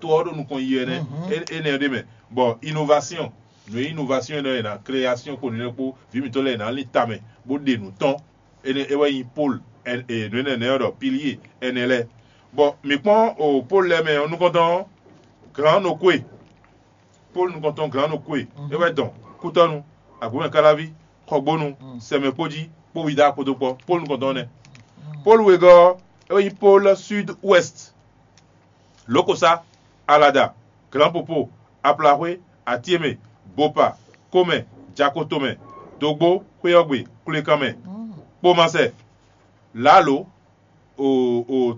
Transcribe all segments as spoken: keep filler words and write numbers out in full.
to ɔ́ ɖo nukɔn yi wɛ nɛ́. Énɛ́ ɖé mɛ, bɔ innovation, nǔ e innovation nɔ e ná création kpo nínú kpó vǐ mǐtɔn lɛ́ɛ ná lin tamɛ bó ɖe nǔ tɔn. Énɛ́ é wɛ nyí pôl, nǔ énɛ́ ɔ́ ɖɔ pilier ɛnɛ lɛ́ɛ. Bɔ mǐ kpɔ́n o pôl lɛ́ɛ mɛ ɔ́ nukɔntɔn ɔ́, glǎn nokwe, pôl nukɔntɔn glǎn nokwe é wɛ dɔn kútɔ́nu, agbǒmɛ káláví, xɔgbónu, sɛmɛkpójí, kpó wida kpódó kpɔ́. Pôl nukɔntɔn nɛ́. Pôl wegɔ́ ɔ́, é wɛ nyí pôl sud ouest, lǒkosá, alada, glǎnpopo, aplaxwé, atíemɛ, bopa, komɛ, jakotomɛ, dogbó, xwéyɔ́gbe, kwlekanmɛ, kpomasɛ, lǎlo,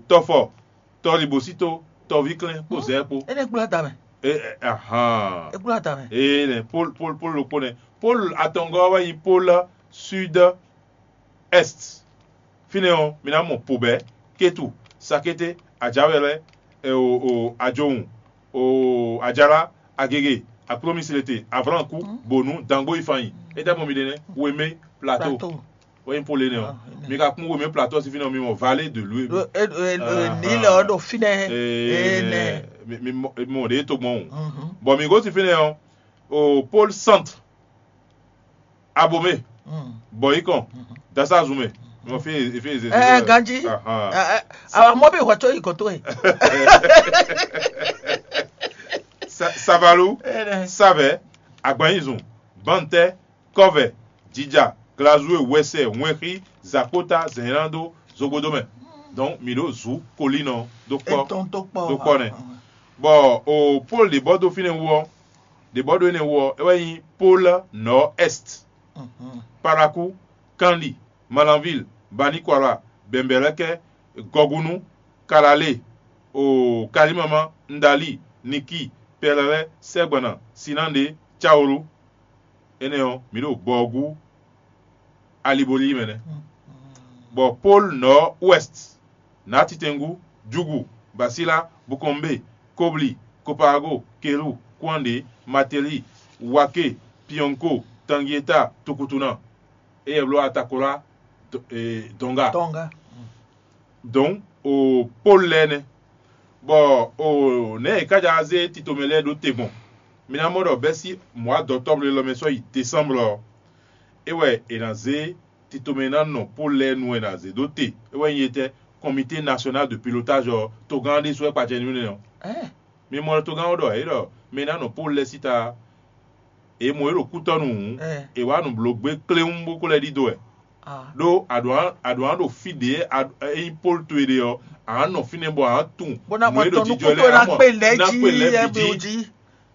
tɔfɔ, tɔlibosíto, tɔvíklɛ́n kpó zɛ̌ kpó. Énɛ́ kplá ta mɛ. Ahan. É kplá ta mɛ. Ee nɛ pol pol pol ɖokpó nɛ. Pol atɔngɔ́ wɛ nyí pol sud est. Fínɛ́ ɔ́, mi ná mɔ pobɛ̌, kétu, sakété, ajǎwɛlɛ́, ajowun, ajalá, agege, aklómislete, avlǎnkú, bǒnú, dangbó yi fan nyi. É tɛ́ mɔ mi ɖe nɛ́? Wemé, plato. Wɛ nyí pol énɛ́ ɔ́. Mi ka kún wemé plato ɔ́ sín fínɛ́ ɔ́, mi mɔ vallée de lui. Nǐlɛ ɔ́ ɖo fínɛ́. Énɛ́. Mi mɔ ɖě to gbɔn o. Bɔ mi gosín fínɛ́ ɔ́, o pol sant, abomé, bɔyikɔn, dasazumɛ, mɔ fí fí eze. Ɛ ganji. Awa mɔ bí hwɛ tó yi kɔtó yi. Savalu, savɛ, agbanyizun, bantɛ, kɔvɛ, jija, glazue, wɛsɛ, wɛnxí, zakpota, zɛ̌nlán dó, zogbodó mɛ. Donc mi ɖo zu kolínɔ dó kpɔ dó kpɔ nɛ. Bɔ o pol ɖě bɔ dó fínɛ́ wú ɔ́, ɖě bɔ ɖó énɛ́ wú ɔ́, é wɛ nyí pol nɔ̌ est, paraku, kanli, malanvil, banikwala, bɛ̌nbɛ̌lɛ́kɛ́, gɔgunu, kalalé, o kalimama, ndali, niki, pɛlɛlɛ, sɛgbana, sinande, cawolu. Énɛ́ ɔ́, mǐ ɖo gbɔ ɔ́ gú alibolí mɛ nɛ́. Bɔ pol nɔ̌ ouest, nǎtitɛngú, júgu, basílá, bukɔnbé, kóblí, kopaago, kelú, kwánɖě, matelí, waké, piɔnko, tangieta, tukutuna, éyɛ́ bló atakolá, dɔnga. Dɔnga. Donc o pol lɛ́ɛ nɛ́. Bɔ o nɛ̌ è ká jǎ zé titomɛ lɛ́ɛ ɖó te gbɔn? Mi ná mɔ ɖɔ bɛ́sín mɔ̌ adɔtɔ́bló élɔ́ mɛ sɔ́ yi desánblɔ ɔ́, é wɛ è nǎ zé titomɛ e ná nɔ pol lɛ́ɛ nu wɛ è nǎ zé dó te. É wɛ nyí etɛ́? Comité national de pilotage ɔ́, togán ɔ́ ɖésú wɛ kpacɛ nú nɛ́ ɔ́. Mi mɔ togán ɔ́ ɖɔ é ɖɔ mɛ e ná nɔ pol lɛ́ɛ síta, è mɔ é ɖo kútɔ́nú hǔn, è wǎ nǔblógbé kléwún bó ko lɛ́ ɖidó wɛ. Ɖó a ɖǒ ná ɖo fí ɖě é nyí pól towe ɖe ɔ́, a nǎ nɔ fínɛ́ bɔ a nǎ tunwun nǔ e ɖo jijɔ lɛ́ɛ, a mɔ ná kpe lɛ́ bǐ jí.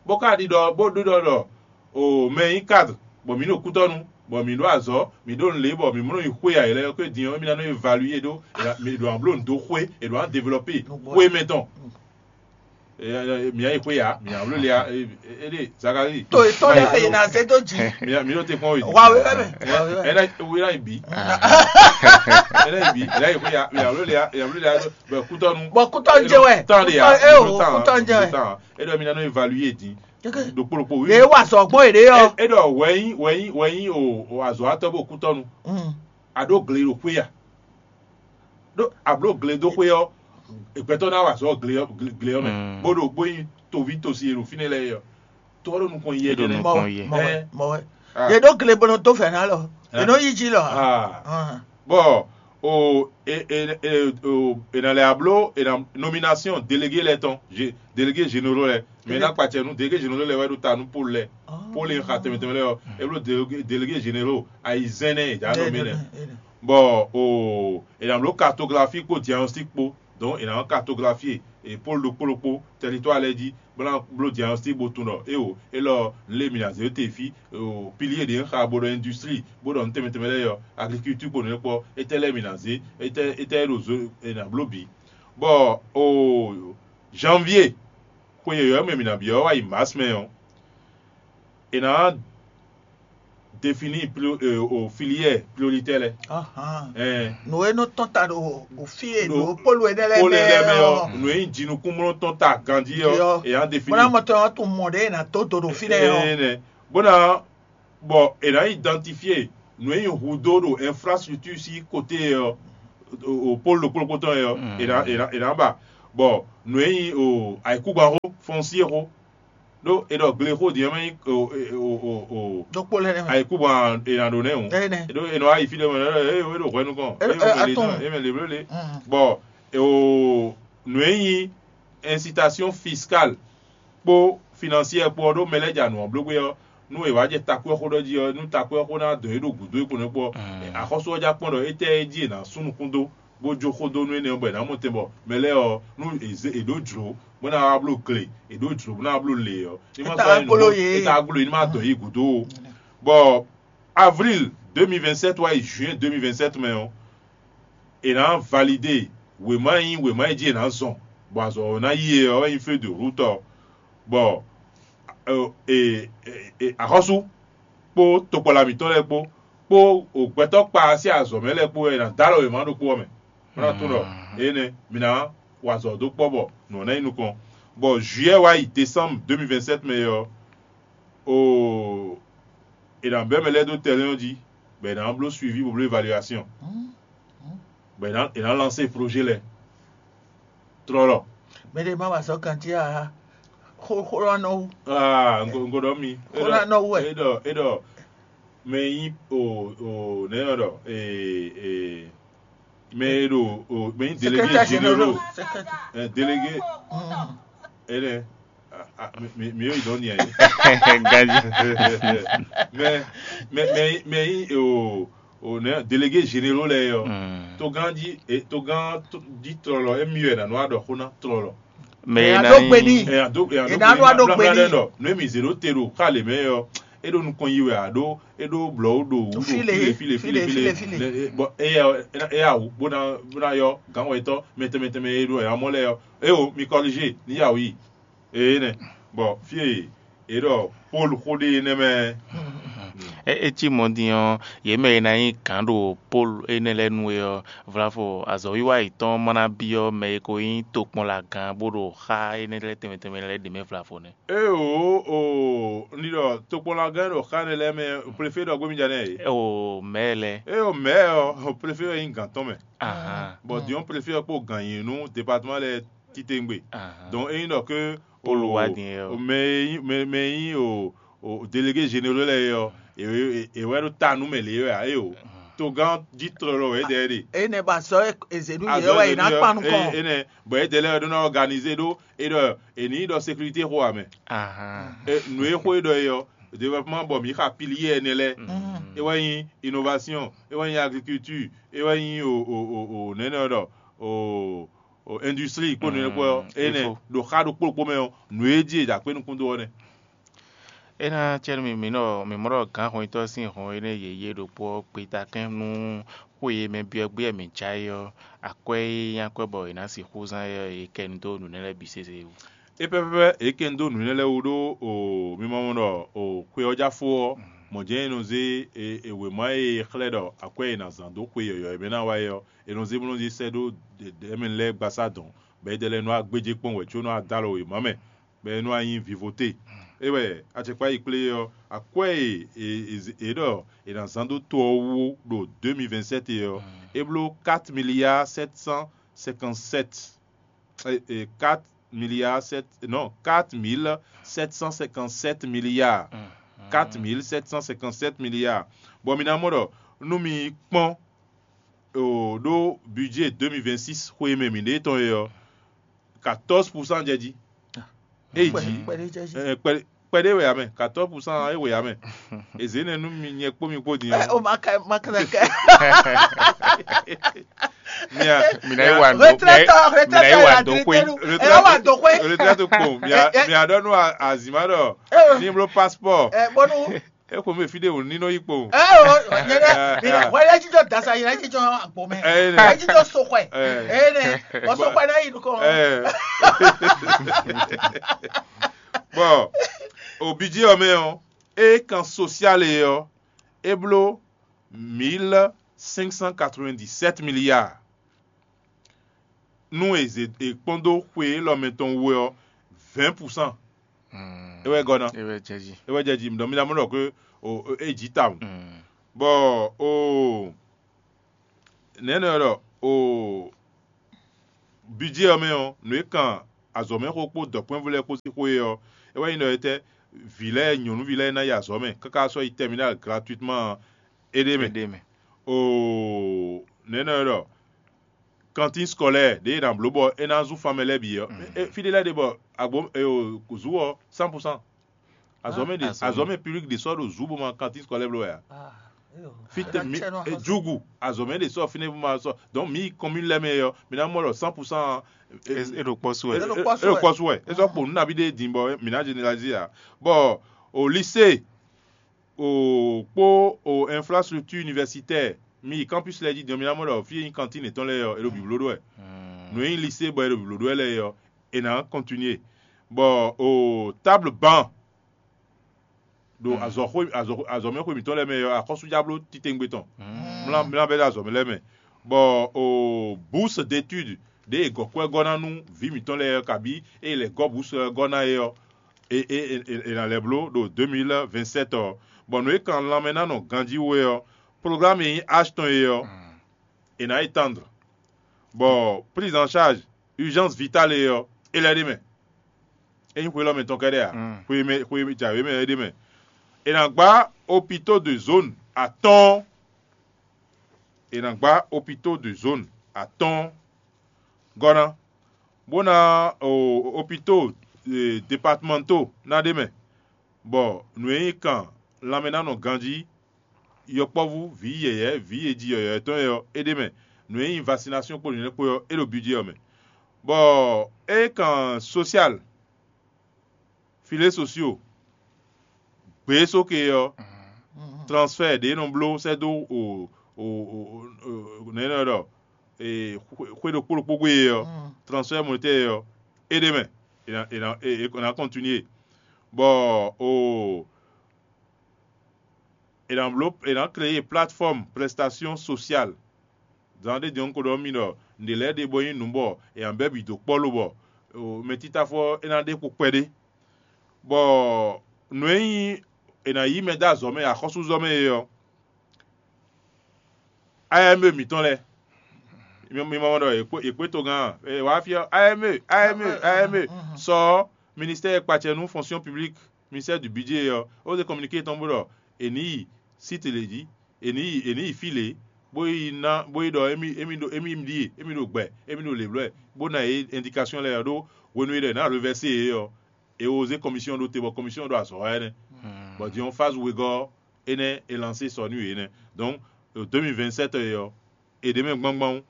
Bó ka ɖiɖɔ bó ɖiɖɔ ɖɔ o mɛ e nyí kadr, bɔ mǐ ɖo kútɔ́nu, bɔ mǐ ɖó azɔ̌, mǐ ɖó nǔ lě, bɔ mǐ mɔ nɔ yi xwé ayǐ lɛ́ɛ ɔ́, din ɔ́, émí ná nɔ évalué ɖó è ɖo ná bló nǔ dó xwé, è ɖo ná develɔpé xwé mɛ tɔn. Mǐ ná yi xwé ya, mǐ ná bló le ya. Éɖée Zakalíi. To yětɔn lɛ́ɛ è nǎ zé dó jǐ. Mǐ ɖo te kpɔ́n wědi. Wa wé wɛ mɛ. Ɛ ná wé ná yi bǐ. Ɛ ná yi bǐ, ɛ ná yi xwé ya, mǐ ná bló le ya, mǐ ná bló le ya bɔ kútɔ́nu. Bɔ kútɔ́nu jɛ wɛ. Tán ɖe ya. Ɛ o kútɔ́nu jɛ wɛ. É ɖɔ mǐ ná nɔ évalué din. Ɖokpó ɖokpó wí. Yě wa sɔgbɔn yě ɖe yɔ. É ɖɔ wɛ̌nyí wɛ̌nyí wɛ̌nyí o azɔ̌watɔ́ bó kútɔ́nu. A ɖó gle ɖo xwé ya. Ɖó a blǒ gle dó xwé ɔ́, gbɛtɔ́ ná wa azɔ̌ gle ɔ́ gle ɔ́ mɛ, bó ɖo bó nyí toví tosi e ɖo fínɛ́ lɛ́ɛ é ɔ́, to ɔ́ ɖo nukɔn yi wɛ. Mɔ wɛ, mɔ wɛ, mɔ wɛ. Yě ɖó gle bó nɔ dó fɛ̌ ná lɔ, yě nɔ yí jí lɔ. Bɔ o e e e o è nǎ lɛ́ bló è nǎ nomination délégué lɛ́ɛ tɔn, délégué généraux lɛ́ɛ, mɛ ná kpacɛ nú délégué généraux lɛ́ɛ wɛ ɖo ta nú pôle lɛ́ɛ. Pôle e xa tɛnmɛ tɛnmɛ lɛ́ɛ ɔ́, é bló délégué généraux ayizɛ́n nɛ́ è dǎ nomé lɛ́ɛ. Bɔ o è nǎ bló cartographie kpó diagnostic kpó. Donc è nǎ cartographie e pôle ɖokpó ɖokpó, territoire lɛ́ɛ jí, bó ná bló diagnostic bó tunwun ɖɔ éwo élɔ́ lé mǐ ná zé te fí, pilier ɖě un xa bó ɖɔ industrie, bó ɖɔ nǔ tɛnmɛ tɛnmɛ lɛ́ɛ ɔ́, agriculture kpó nǔ kpɔ́, étɛ́ lɛ́ɛ mǐ ná zé, étɛ́ étɛ́ é ɖo zó è nǎ bló bǐ. Bɔ o janvier xwe yɔ̌yɔ́ mɛ mǐ ná byɔ́ wá yi mars mɛ ɔ́, è nǎ définir o filière prioritaire lɛ́ɛ. Nǔ e nɔ tɔn ta ɖo fí e ɖo polu énɛ́ lɛ́ɛ mɛ ɔ́, nǔ e nyí jinukúnmlɔ́ tɔn ta ganjí ɔ́, è nǎ définir. Bó ná mɔ tɔn ɔ́ tunwun mɔ ɖě è nǎ dó do ɖo fínɛ́ ɔ́. Bó ná bɔ è nǎ identifier nǔ e nyí hudó ɖo infrastructure sín côté ɔ́, o pôle ɖokpó ɖokpó tɔn ɔ́, è nǎ è nǎ è nǎ ba. Bɔ nǔ e nyí o ayǐkúngban xó, pɔnsi e xó. Ɖó è ɖɔ gle xó din ɔ́ mɛ nyí o o o o ɖokpó lɛ́ɛ nɛ mɛ. Ayikúbɔn è nǎ ɖó nɛ́ o. Ɛ nɛ. Ɖó è nɔ wá yi fí ɖé mɛ ɖɔ é é ɖo hwɛ nukɔn. É- É é- mɛ le atɔn. Nɔ é mɛ le bló le. Bɔ o nǔ e nyí incitation fiscale kpó financière kpó ɔ́ ɖó mɛ lɛ́ɛ ja nǔ ɔ́ bló gbé ɔ́, nú è wǎ jɛ takwɛ́ xó ɖɔ jí ɔ́, nú takwɛ́ xó ná dɔn é ɖo gǔdo é kpo nɛ́ kpó ɔ́, axɔ́sú ɔ́ já kpɔ́n ɖɔ étɛ́ jí è nǎ sú nukún dó bó jó xó dó nú énɛ́ ɔ́ bɔ è nǎ mɔ tɛn bɔ mɛ lɛ́ɛ ɔ́, nú è zé è ɖǒ jlǒ bó ná wá bló gle, è ɖǒ jlǒ bó ná wá bló le ɔ́, ní ma Étɛ́ sɔ́ wá nyí nǔ gbló bɔ- yě. étɛ́ wá gbló yě ní ma dɔn yí gǔdo o. Bɔ avril deux mille vingt-sept wá yi juin deux mille vingt-sept mɛ ɔ́, è nǎ validé wěma e nyí wěma e jí è nǎ zɔn bɔ azɔ̌ ɔ́ ná yi e ɔ́ wɛ nyí feuille de route ɔ́, bɔ ɛ, ɛ, ɛ, ɛ, axɔ́sú kpó tokpɔla mǐtɔn lɛ́ɛ kpó kpó gbɛtɔ́ kpa sín azɔ̌ mɛ lɛ́ɛ kpó wɛ è nǎ dó alɔ wěma ɖokpó ɔ́ mɛ. Bó ná tunwun ɖɔ énɛ́ mi ná wa azɔ̌ dó kpɔ́ bɔ nǔ ɔ́ ná nyí nukɔn. Bɔ juillet wá yi décembre deux mille vingt-sept mɛ ɔ́, o è nǎ bɛ́ mɛ lɛ́ɛ dó tɛlɛ́n ɔ́ jí, bɔ è nǎ bló suivi bó bló évaluation, bɔ è nǎ è nǎ lansé projet lɛ́ɛ tlɔlɔ. Mɛ ɖé má wá sɔ́ kan jí a xó xó lɔ nɔ wú. Ah, ngo ngo ɖɔ mi. Xó ná nɔ wú ɛ. E ɖɔ e ɖɔ mɛ nyi o o nɛ yɔ ɖɔ ee ee mɛ e ɖo o mɛ nyi délégué Secrétaire généraux général. Secrétaire. ɛ délégué Mm. e ɖɛ a- a- mi mi mi yɔ idɔn ni ayi. Ganji. Mɛ mɛ mɛ mɛ nyi o o nɛ délégué généraux lɛ yɔ. Mm. Togán jí e togán tó- jí tlɔlɔ emi wɛ nanu aɖɔ xó ná tlɔlɔ. Mɛ Ɛ, e a na ɖó nyí gbe n'i. Ɛ ado ɛ ado Ina ɖo aɖo gbe n'i. Ɖɔ nu emi zě ɖó te ɖo xá lě mɛ ɔ, e ɖo nukɔn yi wɛ aɖó e ɖó blɔ̌ ɖo wú ɖo File, file file file file, file file. Ne- e- bɔ eya eya awu bó ná bó ná yɔ gǎn wɛtɔ́ mɛtɛn mɛtɛn mɛ e ɖo ɛ amɔ lɛ ɔ. E o mi kɔlíže ní yawu yi. Ee nɛ bɔ fie e ɖɔ Pɔ́lu xó ɖe nɛ mɛ. É é cí mɔ̌ din ɔ́, yě mɛ e ná nyí gǎn ɖo Pɔ́lu énɛ́ lɛ́ɛ nu é ɔ́, vlavo azɔ̌wiwa yětɔn ma ná byɔ́ mɛ e ko nyí tokpɔnlagán bó ɖo xá énɛ́ lɛ́ɛ tɛnmɛ tɛnmɛ lɛ́ɛ ɖě mɛ vlavo nɛ́. Eo o ní ɖɔ tokpɔnlagán ɖo xá ne lɛ́ɛ mɛ préfé ɖɔ gbémídja nɛ e. O mɛ lɛ. Eo mɛ ɔ préfé ɔ nyí gǎn tɔn mɛ. Ahan. Bon, disons préfé ɔ kpó gǎn nyi nú département lɛ titewungbe. Ahan. Donc e nyí ɖɔ ke Pɔ́lu wá din é ɔ. Mɛ e nyí- mɛ mɛ e nyí o o délégué généraux lɛ ɔ, e e wɛ ɖo ta nú mɛ lě wɛ a e o. Togán jí tlɔlɔ wɛ dɛ ɖe. Eye nɛ ba sɔ ezenu yɛ wɛ yi na kpan nukɔn. Enɛ bɔn e dɛ lɛ ɖo na organiser ɖo e ɖɔ e ní ɖɔ sécurité xo amɛ. Ahan. E nu e xo e ɖɔ e ɔ développement bɔ mi xa pilier ɛnɛ lɛ. E wɛ nyi innovation, e wɛ nyi agriculture, e wɛ nyi o o o o nɛnɛ ɖɔ o o industrie kpó nɛnɛ kpó ɔ enɛ ɖo xa ɖo kpókpó mɛ ɔ nu e jí e dza kpé nukún dó ɔ nɛ. É ná cɛ́ nú mi mǐ nɔ mǐ mɔ ɖɔ gǎn hɔnyitɔ́ sín hɔn énɛ́ yě yé ɖokpó ɔ́ gbe takɛ́n nú xó e mɛ byɔ́ gbé wɛ mǐ já é ɔ́, akwɛ́ e nyí akwɛ́ bɔ è nǎ sixú zán é ɔ́, è kɛ nu dó nǔ énɛ́ lɛ́ɛ bǐ sésé wú. É pɛ́pɛ́pɛ́ è kɛ nu dó nǔ énɛ́ lɛ́ɛ wú ɖó o mi ma mɔ ɖɔ o xwe ɔ́ já fó ɔ́, mɔ̌ jɛ́n è nɔ zé e e wěma e è xlɛ́ ɖɔ akwɛ́ e è nǎ zán dó xwe yɔ̌yɔ́ e mɛ ná wá é ɔ́, è nɔ zé bó nɔ zé sɛ́ ɖó ɖɛ̌mɛ lɛ́ɛ gbasá dɔ̌n, bɔ é ɖɛ lɛ́ɛ nɔ wá gbéjé kpɔ́n wɛ có nɔ wá dó alɔ wěma mɛ, bɔ é nɔ wá nyí vivote. É wɛ acɛkpá yi kplé ɔ́, akwɛ́ e è è è ɖɔ è nǎ zán dó to ɔ́ wú ɖo deux mille vingt-sept ɔ́, é bló quatre milliards sept cent cinquante-sept, eh, eh, quatre milliards sept, non, quatre mille sept cent cinquante-sept milliards. Quatre mille sept cent cinquante-sept milliards. Bon, mi ná mɔ ɖɔ nú mi kpɔ́n o ɖó budget deux mille vingt-six xwe e mɛ mǐ ɖe tɔn e ɔ́, quatorze pour cent jɛ jí. É yi jí. Kpɛɖé jɛ jí. Eh, kpɛ- kpɛɖé wɛ amɛ, quatorze pour cent é wɛ amɛ. Ezé nɛ nú mi nyɛ kpó mi kpó din Ɛ, ɔ́. O ma ka ma ka ka. Mia Mǐ ná yi wa ndo Retraite, mǐ ná yi wa ndo xwé. retraite, ɛ wa do xwé. Retraite to kpɔn mia Ɛ, ɛ. mia ɖɔ nú azima ɖɔ Ɛ. ní bló passport. Ɛ bɔnu E xo mi fi ɖe wò ní nɔ yi kpɔn. ɛ o nyɛ dɛ mi na wɛ yɛ jijɔ dasa yɛ jijɔ agbo mɛ Ɛ, nɛ. Yɛ jijɔ soxɔɛ Ɛ. ɛ nɛ bɔ soxɔɛ na yi nukɔ. Ɛ. Bon, o budget ɔ mɛ ɔ, e kan social e ɔ, e bló mille cinq cent quatre-vingt-dix-sept milliards. Nú e zě e kpɔ́n dó xwe élɔ́ mɛ tɔn wú ɔ́, vingt pour cent. E wɛ gɔ́ ná. É wɛ jɛ jí. E wɛ jɛ jí, donc mi ná mɔ ɖɔ ke o o- e jí tawun. Bɔ o nɛnɛ ɖɔ o budget ɔ mɛ ɔ, nǔ e kan azɔ̌mɛxó kpó dɔ̌nkpɛvú lɛ́ɛ kpó sín xwé ɔ́, é wɛ nyí ɖɔ étɛ́ vǐ lɛ́ɛ nyɔ̌nuví lɛ́ɛ ná yi azɔ̌ mɛ káká sɔ́ yi terminal gratuitement ɔ́, é ɖ'é mɛ. Éɖée mɛ. Oo, nɛ̌ nɔ é ɖɔ? Cantine scolaire ɖě è nǎ bló bɔ é ná zún fan mɛ lɛ́ɛ bǐ ɔ́, é- fí ɖé lɛ́ɛ ɖe bɔ agbo e o zú ɔ́ cent pour cent. Azɔ̌mɛ ɖe Ah, azɔ̌mɛ. Azɔ̌mɛ public ɖě sɔ́ ɖo zú bó ma cantine scolaire bló wɛ a? Ah, eyo. Fí tɛ mi Aɖatsɛ nɔ e axɔ́sú. Jugu azɔ̌mɛ ɖě sɔ́ fínɛ́ bó ma sɔ́. Donc mi commune lɛ́ɛ mɛ ɔ́, mi ná mɔ ɖɔ cent pour cent. E ɖo kpɔ́ sú wɛ. E ɖo kpɔ́ sú wɛ. E sɔ́ kpo nǔ nabí ɖé din bɔ mi ná généraliser a. Bɔ o lycée o kpó o infrastructure universitaire, mi yi campus lɛ́ɛ jí din ɔ́, mi ná mɔ ɖɔ fí e nyí cantine yětɔn lɛ́ɛ ɔ́, è ɖo bǐbló ɖó wɛ. Nǔ e nyí lycée bɔ è ɖo bǐbló ɖó wɛ lɛ́ɛ ɔ́, è nǎ continuer. Bɔ o table banc ɖo azɔ̌xwé azɔ̌xwé azɔ̌mɛxwé mǐtɔn lɛ́ɛ mɛ ɔ́, axɔ́sújábló titewungbe tɔn mlá mlá bɛ́ ɖo azɔ̌ lɛ́ɛ mɛ, bɔ o bourse d'étude ɖě è gɔ̌ kwɛ́ gɔ́ ná nú vǐ mǐtɔn lɛ́ɛ ɔ́, kabí ée è lɛ̌ gɔ́ bourse ɔ́ gɔ́ ná é ɔ́, è è è è nǎ lɛ́ bló ɖo deux mille vingt-sept ɔ́, bɔ nǔ e kan lanmɛ ná nɔ ganjí wú é ɔ́, programme e nyí H tɔn é ɔ́, è nǎ étendre, bɔ prise en charge urgence vitale é ɔ́, é lɛ́ ɖ'é mɛ. É nyí xwe élɔ́ mɛ tɔn kɛ́ɖɛ́ ǎ. Mm. Xwe mɛ xwe jǎwe mɛ é ɖ'é mɛ. È nǎ gbá hôpitaux de zone atɔ́ɔ́n. È nǎ gbá hôpitaux de zone atɔ́ɔ́n gɔ́ ná, bó ná o hôpitaux e, départementaux ná ɖ'é mɛ, bɔ nǔ e nyí kan lanmɛ ná nɔ ganjí, yɔkpɔ́vú, vǐ yɛ̌yɛ́, vǐ e ji yɔ̌yɔ́ tɔn é ɔ́, é ɖ'é mɛ. Nǔ e nyí vaccination kpó nǔnywɛ́ kpó ɔ́, é ɖo budget ɔ́ mɛ. Bɔ é kan social, filets sociaux, gbě e sóke ɔ́, transfert ɖě e nɔ bló sɛ́ dó o o o o nɛ̌ nɔ ɖɔ e xwe ɖokpó ɖokpó gbe e ɔ́, transfert monétaire ɔ́, é ɖ'é mɛ, è nǎ è nǎ è nǎ continuer, bɔ o è nǎ bló è nǎ créer plateforme prestation sociale. Zan ɖé din ɔ́, un ko ɖɔ nú mi ɖɔ nǔɖé lɛ́ɛ ɖe bɔ nyí nǔ bɔ è nǎ bɛ́ bǐ dó kpɔ́ lobɔ mɛtítáfɔ ɔ́ é ná ɖe kpo kpɛɖé, bɔ nǔ e nyí è nǎ yí mɛ dó azɔ̌ mɛ axɔ́súzɔ́ mɛ é ɔ́, A M E mǐtɔn lɛ́ɛ, mi ma mɔ ɖɔ è kpé togán a? È wǎ fí ɔ́, A M E, A M E, A M E sɔ ɔ́, ministère e kpacɛ nú fonction publique, ministère du budget ɔ́, é wǒ zé communiqué tɔn bó ɖɔ è nǐ yi site lě jí, è nǐ yi è nǐ yi fí lě, bó yi ná bó yi ɖɔ émí émí ɖo émí ɖíe, émí ɖo gbɛ, émí ɖo lěblɔ́ ɛ, bó ná yě indication lɛ́ɛ ɔ́ ɖó hwenu e ɖɔ è nǎ reversé yě ɔ́, è wǒ zé commission ɖó te bɔ commission ɖo azɔ̌ wa ɛnɛ́. Bɔ din ɔ́, phase wegɔ́ ɔ́, énɛ́ è lancé sɔ nú yě nɛ́. Donc, ɖo deux mille vingt-sept ɔ́, è ɖě mɛ gbangban,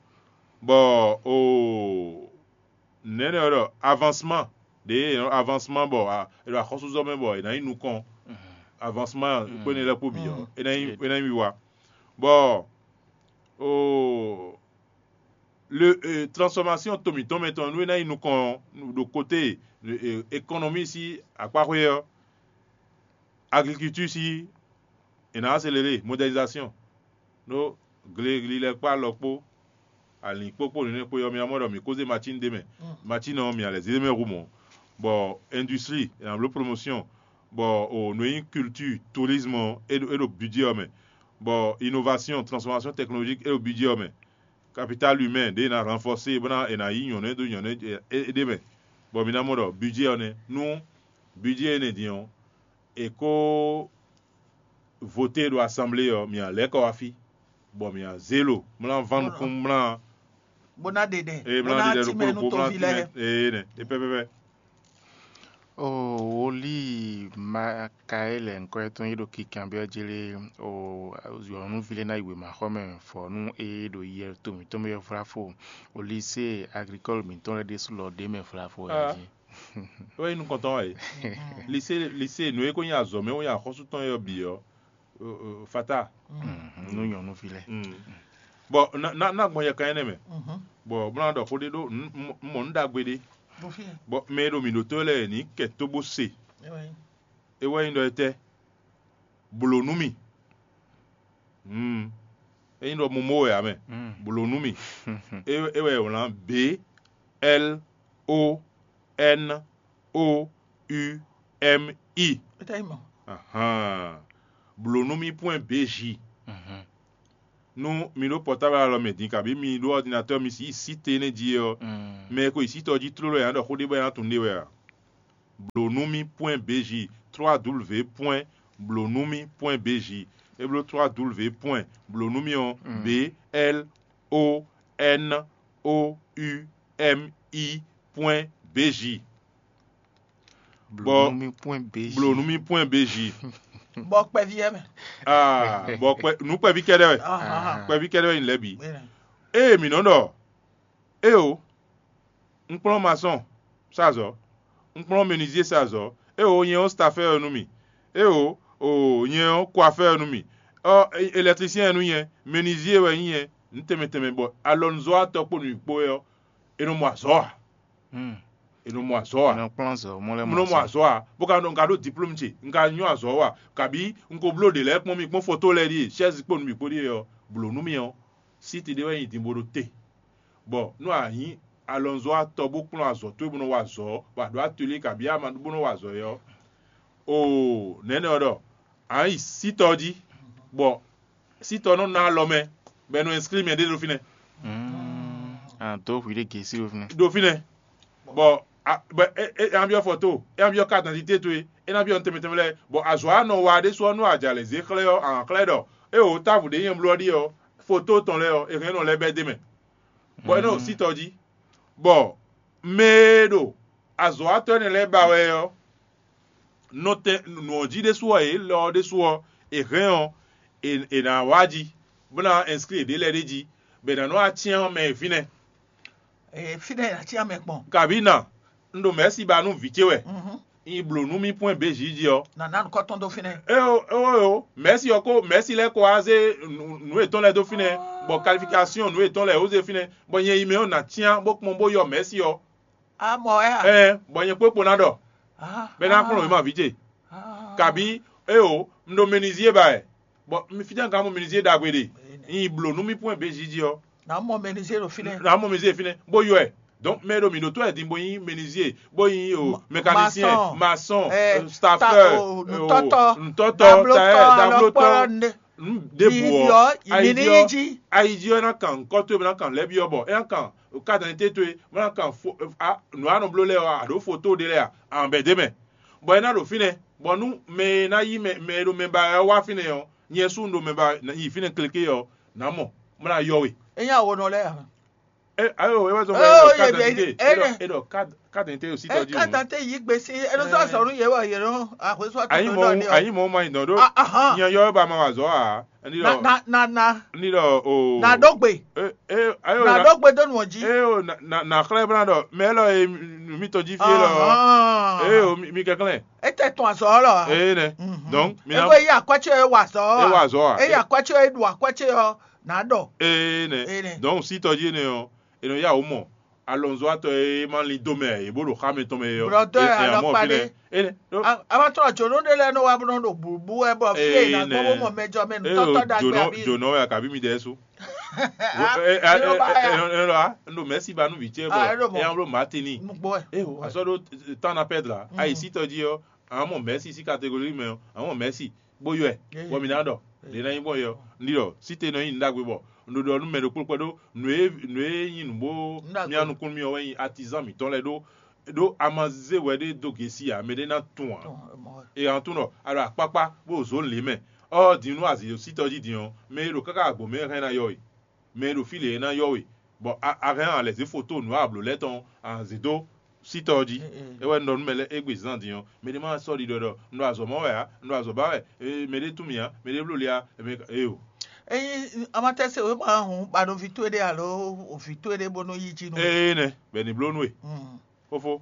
bɔ o nɛ̌ nɔ ɖɔ avancement ɖě è nɔ avancement bɔ è ɖo axɔ́súzɔ mɛ bɔ è nǎ yi nukɔn, avancement kpénɛ lɛ́ɛ kpó bǐ ɔ́, é ná nyí é ná nyí wiwa, bɔ o le transformation to mǐtɔn mɛ tɔn nú é ná yi nukɔn ɖo côté économie sí akpáxwé ɔ́, agriculture sí è nǎ accélérer modernisation ɖó gle lilɛ kpó alɔ kpó alǐn kpó kpó nǔnywɛ́ kpó ɔ́, mi ná mɔ ɖɔ mǐ kó zé macín ɖ'é mɛ. Macín ɔ́, mǐ ná lɛ́ zé ɖ'é mɛ hú mɔ̌, bɔ industrie è nǎ bló promotion, bɔ o nǔ e nyí culture, tourisme ɔ́, é ɖo é ɖo budget ɔ́ mɛ, bɔ innovation, transformation technologique é ɖo budget ɔ́ mɛ, capital humain ɖě è nǎ renforcer bó ná è nǎ yí nyɔ̌nu e dó nyɔ̌nu e ɖ'é mɛ, bɔ mi ná mɔ ɖɔ budget ɔ́ nɛ́ nú budget énɛ́ din ɔ́, è ko voté ɖo assemblée ɔ́, mǐ ná lɛ́ kɔ wá fí, bɔ mǐ ná zé lo mlá ván nukún mlá bó ná ɖe ɖɛ eye bó mlá ná ɖe ɖɛ timɛ ɖokpó nú ɖokpó mlá toví lɛ́ɛ. Timɛ eye nɛ e pɛpɛpɛ. O woli Makaelɛ ŋkɔ́ tɔn yi ɖo kinkanbyɔ́ jlé o yɔ̌nuví lɛ́ɛ ná yi wěmaxɔmɛ fɔ nú eye ɖo yɛ to mǐtɔn mɛ flafo o lycée agricole mǐtɔn lɛ́ɛ ɖésú lɔ ɖ'é mɛ flafo wɛ jí. É wɛ nyí nukɔntɔn wɛ. Lycée lycée nǔ e ko nyí azɔ̌ mɛ wɛ nyí axɔ́sú tɔn e ɔ́ bǐ ɔ́, fata. Nú nyɔ̌nuví lɛ́ɛ. Bɔ na na na gbɔn yɛ kan énɛ́ mɛ. Bɔ bó ná ɖɔ xó ɖé ɖó un mɔ nǔ ɖagbe ɖé. Bɔ mɛ e ɖo mǐ ɖótó lɛ́ɛ ní kɛ tó bó se. É wɛ nyí ɖɔ étɛ́? Blǒ nú mì. É nyí ɖɔ momo wɛ ǎ mɛ. Blǒ nú mì. É é wɛ è wlǎn B L O N O U M I. É tá nyí mɔ̌. Ahan. Blǒ nú mì point B J. Nú mi ɖó pɔtábl alɔ mɛ din, kabǐ mi ɖó ɔdinatɔ́ mi yi site énɛ́ jí é ɔ́, mɛ e ko yi site ɔ́ jí tlóló e ǎ ɖɔ xó ɖé bɔ é ná tunwun ɖe wɛ a? Blǒ nú mì pwɛn B J, trois W pwɛn blǒ nú mì pwɛn B J. É bló trois W pwɛn blǒ nú mì ɔ́, B L O N O U M I pwɛn B J. Bɔ blǒ nú mì pwɛn B J. Blǒ nú mì pwɛn B J. Bɔ kpɛví yɛ mɛ. Ah, bɔ kpɛ nǔ kpɛví kɛɖɛ wɛ. Kpɛví kɛɖɛ wɛ nyí lɛ́ bǐ. Ée mǐ nɔ ɖɔ, éeǒ, un kplɔ́n masɔ́n sá azɔ̌, un kplɔ́n menuisier sá azɔ̌, éeǒ, nyɛ ɔ́ stafɛ́ wɛ nú mì, éeǒ, oo, nyɛ ɔ́ kwafɛ́ wɛ nú mì, ɔ́, elɛktlisiɛn wɛ nú nyɛ, menuisier wɛ nyí nyɛ, nǔ tɛnmɛ tɛnmɛ bɔ alɔnuzɔ́watɔ́ kpó nǔ kpó wɛ ɔ́, è nɔ mɔ azɔ̌ ǎ. È nɔ mɔ azɔ̌ ǎ. Nɔ kplɔ́n azɔ̌ mɔ lɛ́ɛ Mɔ mɔ nɔ mɔ azɔ̌. Azɔ̌ ǎ, bó ka nɔ un ka ɖó diplómu ce, un ka nyɔ́ azɔ̌ wa, kabǐ un ko bló ɖě lɛ́ɛ kpɔ́n mì kpɔ́n foto lɛ́ɛ ɖíe, chɛ́zi kpó nǔ bǐ kpó ɖíe ɔ́, blǒ nú mì ɔ́, síti ɖé wɛ nyi din bó ɖó te. Bɔ nú a nyǐ alɔnzɔ́watɔ́ bó kplɔ́n azɔ̌ towe bó nɔ wa azɔ̌, bɔ a ɖǒ atelier kabǐ ama bó nɔ wa azɔ̌ é ɔ́, oo, nɛ̌nɛ ɔ́ ɖɔ a nǎ yi sítɔ ɔ́ jí, bɔ sítɔ ɔ́ nɔ ná alɔ mɛ, bɔ è nɔ ɛnskrí mɛ ɖé ɖo fínɛ́. A dǒ hwi ɖé gěsí ɖo fínɛ́. Ɖo fínɛ́, bɔ a- bɔ é é é ná byɔ́ fɔto, é ná byɔ́ carte d'identité towe, é ná byɔ́ nǔ tɛnmɛ tɛnmɛ lɛ́ɛ, bɔ azɔ̌ a nɔ wa ɖésú ɔ́, nú a jɛ alɛ zě xlɛ́ ɔ́, a nǎ xlɛ́ ɖɔ éeǒ, távo ɖě nyɛ bló ɔ́ ɖíe ɔ́, foto tɔn lɛ́ɛ ɔ́, è hɛn nɔ lɛ́ bɛ́ d'é mɛ, bɔ é nɔ sítɔ jí, bɔ mɛ e ɖo azɔ̌watɔ́ énɛ́ lɛ́ɛ ba wɛ ɔ́, nɔtɛn nǔ ɔ́ jí ɖésú ɔ́, yě lɔ ɔ́ ɖésú ɔ́, è hɛn ɔ́, è è nǎ wá jí, bó ná ɛnskrí yěɖée lɛ́ɛ ɖ'é jí, bɔ è nǎ nɔ wá cyán mɛ e fínɛ́. Ee, fínɛ́ è nǎ cyán mɛ gbɔn. Kabǐ na, un ɖo mɛ̌si ba nú vǐ ce wɛ, un yi blǒ nú mì pwɛ́n bězǐ jí ɔ́. Nǎ ná nukɔn tɔn dó fínɛ́. Éwo éwo éwo, mɛ̌si ɔ́ ko mɛ̌si lɛ́ɛ ko wá zé nǔ nǔ yětɔn lɛ́ɛ dó fínɛ́, bɔ kalifikásyɔn nǔ yětɔn lɛ́ɛ ó zé fínɛ́, bɔ nyɛ yi mɛ ɔ́ nǎ cyán bó kpɔ́n bó yɔ mɛ̌si ɔ́. A mɔ ɛ a? Ɛɛ, bɔ nyɛ kpókpo ná ɖɔ, bɔ é ná kplɔ́n wěma vǐ ce, kabǐ éwo, un ɖo menizie ba wɛ, bɔ mi fítɛ́ un ka mɔ menizie ɖagbe ɖe? Un yi blǒ nú mì pwɛ́n bězǐ jí ɔ́, Nǎ mɔ mɛnizé ɖo fínɛ́. Nǎ mɔ menizie fínɛ́, bó yɔ ɛ. Donc mɛ e ɖo mǐ ɖótó wɛ din bó nyí menizie, bó nyí o Ma- mekanisien, maçon, masɔn, eh, stafɛr, ta- o, nǔtɔ́tɔ́, nǔtɔ́tɔ́, dablótɔ́, taɛ, dablótɔ́, alɔkpɔ́, nǔ- ɖěbǔ ɔ́, ayi jí ɔ́, ayi jí ɔ́, é ná kan nǔkɔ towe, bó ná kan lɛ́ byɔ́ bɔ é ná kan carte d'identité towe, bó ná kan fo- a- nǔ e a nɔ bló lɛ́ɛ ɔ́, a ɖǒ foto ɖé lɛ́ɛ a, a bɛ̌ d'é mɛ. Bɔ é ná ɖo fínɛ́, bɔ nú mɛ e ná yí mɛ mɛ e ɖo mɛ ba wɛ ɔ́ wá fínɛ́ ɔ́, nyɛ sú un ɖo mɛ ba yi fínɛ́ kléké ɔ́, nǎ mɔ, bó ná yɔ we. É nyí awonɔ lɛ́ɛ ǎ. Ɛ ayo, é wá zɔn bɔ Oh, é ɖɔ ye- carte d'identité, é ɖɔ- é ɖɔ carte d'identité ɖo sítɔ jí. Eka dante yi gbe si eno sɔ sɔnu ye wɔ ye no ahwe sɔ Anyi tuntun mɔ dɔ ni o. Anyi mɔ ma yi dɔn ɖo. Ah, ahan. Nyɛ yɔ ba ma wa zɔ a. Ɛni Na ɖɔ na na na ɛni ɖɔ o. Na ɖo gbe. E e ayo Na na ɖo gbe do nu ji. e o na na na xlɛ bla ɖɔ mɛ lɔ ye nu mi tɔ ji fie lɔ. Ahan. E o mi mi kɛklɛ. Ete tun azɔ lɔ. E nɛ. Donc mi na Ego yi akwɛtsɛ ye wa zɔ. E wa zɔ a. Eyi akwɛtsɛ ye ɖu akwɛtsɛ yɔ na ɖɔ. E nɛ. E nɛ. Donc si tɔ ji ne ɔ. È nɔ yá wǔ mɔ alɔnzɔ́watɔ́ e ma lin dó mɛ ǎ, yě bó ɖo xá mɛtɔn mɛ é ɔ́, Blɔ̌dɔ́ é ɛ alɔkpa amɔ ɖé. Fínɛ́. É nɛ́ ɖó A- Abatɔ jǒnɔ ɖé lɛ́ɛ nɔ wá bó nɔ ɖo bǔbú wɛ bɔ fí e ná gbɔ bó mɔ mɛjɔ mɛ é nǔtɔ́tɔ́ ɖo ɖagbe jǒnɔ àbí? Jǒnɔ wɛ akabi mi ɖɛ sú. Ló ba ya. Ɛnɔ a un ɖo mɛ̌si ba nú vǐ ce Ah, é ɖo bɔ mɔ. É nya bló Martini. Nugbo wɛ. É o asɔ ɖó tán na pɛdra ayi sítɔ jí ɔ́, àwọn mɔ mɛ̌si sí kategori mɛ ɔ́, àwọn mɔ mɛ̌si bó yɔ ɛ, bɔ mǐ ná ɖɔ ɖě ná nyí gbɔn yɛ ɔ́, un ɖi ɖɔ sí te nɔ nyí nǔ ɖagbe bɔ un ɖo ɖɔ nú mɛ ɖokpó kpɛɖó nǔ e nǔ e nyí nǔ bó Nú ɖagbe. Mía nukúnnú mì ɔ́ wɛ nyí atizán mǐtɔn lɛ́ɛ ɖó ɖó a ma zé hwɛ ɖé dó gěsi ǎ, mɛ ɖé ná tunwun ǎ. È hǎn tunwun ɖɔ a ɖo akpákpá bó ɖo zǒn lě mɛ, ɔ́ din nú azǐ ɖo sítɔ jí din ɔ́, mɛ e ɖo káká agbo mɛ é hɛn ná yɔ we, mɛ e ɖo fí lě é ná yɔ we, bɔ a hɛn a lɛ̌ zé foto nǔ a blǒ lɛ́ɛ tɔn a zě dó sítɔ ɔ́ jí. É wɛ un ɖɔ nú mɛ lɛ́ɛ égbé zán din ɔ́, mɛ ɖé ma sɔ́ ɖiɖɔ ɖɔ un ɖo azɔ̌ mɔ wɛ ǎ, un ɖo azɔ̌ ba wɛ, mɛ ɖé tún mì ǎ, mɛ ɖé bló le ǎ, mɛ ka- éyo. Ényí amatɛ́ se wěma hǔn ba ɖo vǐ towe ɖé alo vǐ towe ɖé bónú yí jí nú we. Ee nɛ, bɔ è ní bló nú we. Mm. Fófó.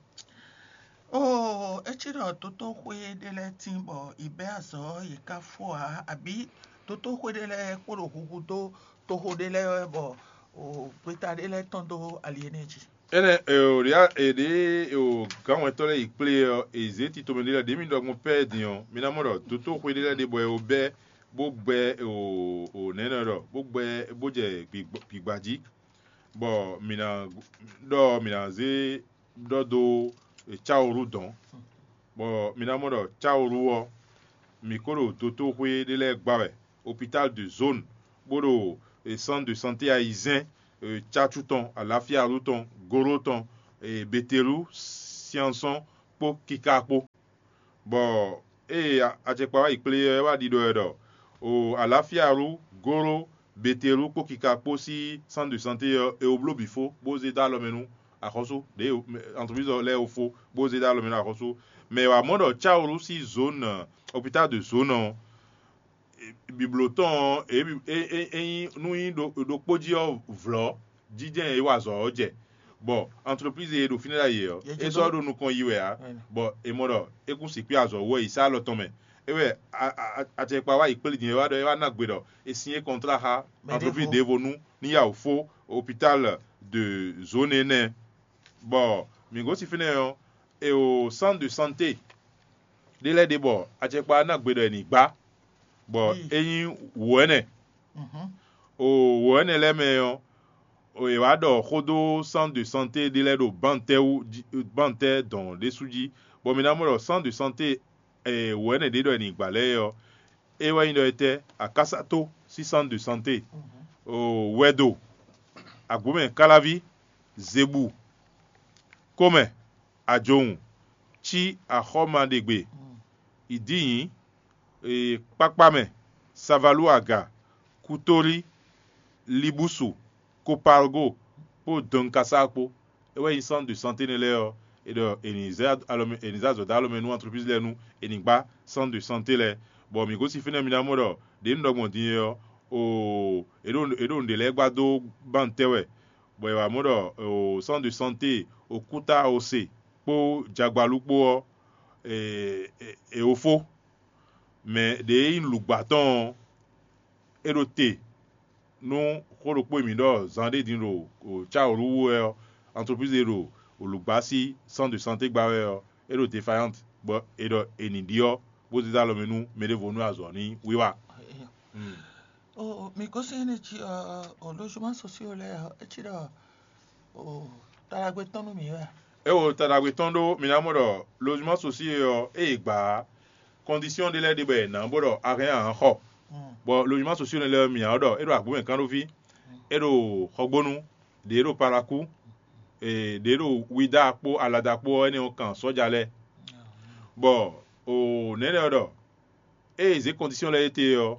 Oo, é cí ɖɔ dotóxwé ɖé lɛ́ɛ tín bɔ è bɛ́ azɔ̌ yě ká fó ǎ, abǐ dotóxwé ɖé lɛ́ɛ kpo ɖo huhu dó toxo ɖé lɛ́ɛ wɛ bɔ o gbeta ɖé lɛ́ɛ tɔ́n dó ali énɛ́ jí. Énɛ́ e ò ɖě e ɖě e ò gǎnwɛntɔ́ lɛ́ɛ yi kplé ɔ́, è zě tito mɛ ɖé lɛ́ɛ ɖě mi ɖɔ gbɔn pɛ́ din ɔ́, mi ná mɔ ɖɔ dotóxwé ɖé lɛ́ɛ ɖe bɔ è wo bɛ́ bó gbɛ o o nɛ̌nɛ ɖɔ bó gbɛ bó jɛ gbǐgba jí, bɔ mǐ ná ɖɔ mǐ ná zé ɖɔ dó Cáoru dɔ̌n, bɔ mǐ ná mɔ ɖɔ Cáoru ɔ́, mǐ ko ɖo dotóxwé ɖé lɛ́ɛ gba wɛ, hôpital de zone, bó ɖo e, centre de santé ayizɛ́n, e, Tcácu tɔn, Alafíalu tɔn, Golo tɔn, e, Betelu, Siansɔn kpó Kika kpó. Bɔ ée a- acɛkpa wá yi kplé ɔ́, é wá ɖiɖɔ wɛ ɖɔ o Alafíalu, Golo, Betelu kpó Kika kpó sín centre de santé ɔ́, è wǒ bló bǐ fó bó zé dó alɔ mɛ nú axɔ́sú ɖě entreprise lɛ́ɛ wó fó bó zé dó alɔ mɛ nú axɔ́sú. Mɛ wǎ mɔ ɖɔ Cáwlu sín zone, hôpital de zone ɔ́, bǐbló tɔn ɔ́, é, é, é, é nyí nú nyí ɖo- ɖokpó jí ɔ́ vlɔ̌ jijɛ e wa azɔ̌ ɔ́ jɛ, bɔ entreprise e ɖo fínɛ́ ɖ'ayǐ ɔ́, é sɔ́ ɖo nukɔn yi wɛ ǎ, bɔ è mɔ ɖɔ é kún sixú yi azɔ̌ wú wɛ yi sá alɔ tɔn mɛ. É wɛ acɛkpa wá yi kplé din é wá ɖɔ é wá ná gbe ɖɔ è sin é kɔntlá xá entreprise ɖěvo nú ní yá wǔ fó hôpital de zone énɛ́. Bɔ mǐ gosín fínɛ́ ɔ́, è o centre de santé ɖé lɛ́ɛ ɖe bɔ acɛkpa ná gbe ɖɔ è nǐ gbá, bɔ é nyí wǒ ɛnɛ. O wǒ ɛnɛ lɛ́ɛ mɛ ɔ́, è wǎ ɖɔ xó dó centre de santé ɖé lɛ́ɛ ɖo bántɛ́ wú bántɛ́ dɔn ɖésú jí, bɔ mi ná mɔ ɖɔ centre de santé wǒ ɛnɛ ɖě ɖɔ è nǐ gbǎ lɛ́ɛ ɔ́, é wɛ nyí ɖɔ étɛ́? Akásátó sín centre de santé, wɛdo, agbǒmɛ káláví, zebu, kómɛ, ajowun, cí axɔ́maɖegbe, ìdínyǐ, kpákpámɛ, savalu aga, kutóli, libúsu, kopalgo kpó dɔnkasá kpó. É wɛ nyí centre de santé énɛ́ lɛ́ɛ ɔ́, è ɖɔ è nǐ zɛ alɔ mɛ è nǐ zɛ azɔ̌ dó alɔ mɛ nú entreprise lɛ́ɛ nú è nǐ gbá centre de santé lɛ́ɛ. Bɔ mǐ gosín fínɛ́ mi ná mɔ ɖɔ ɖě un ɖɔ gbɔn din é ɔ́, oo è ɖo è ɖo nǔɖé lɛ́ɛ gbá dó bántɛ́ wɛ, bɔ è wǎ mɔ ɖɔ oo centre de santé Okúta Ose kpó Jagbalú kpó ɔ́, è è è wǒ fó. Mɛ ɖě e nyí lǔgbá tɔn ɔ́, é ɖo te nú xó ɖokpó e mǐ ɖɔ zan ɖé din ɖo Cáwolu wú wɛ ɔ́, entreprise e ɖo lǔgbá sín centre de santé gbá wɛ ɔ́, é ɖo défaillante, bɔ è ɖɔ è nǐ ɖyɔ́ bó zé dó alɔ mɛ nú mɛ ɖěvo nú azɔ̌ ní wiwa. O mi gosɛn ne ci o logement sociaux lɛ ɔ etsi ɖɔ o taɖagbe tɔn nú mi wɛ. É wo taɖagbe tɔn ɖó mi ná mɔ ɖɔ logement sociaux ɔ́, ée gbǎ condition ɖé lɛ́ɛ ɖe bɔ è nǎ bó ɖɔ a hɛn a nǎ xɔ. Bɔ logement sociaux lɛ́ɛ mǐ ɔ́ ɖɔ é ɖo agbǒmɛ kán ɖó fí, é ɖo xɔgbónu, ɖě ɖo Palakú, ɖě ɖo Wida kpó Alada kpó ɔ́, énɛ́ ɔ́ kan sɔ́ja lɛ́ɛ. Bɔ o nɛ̌ lɛ́ɛ ɔ́ ɖɔ ée è zě condition lɛ́ɛ étɛ́ ɔ́,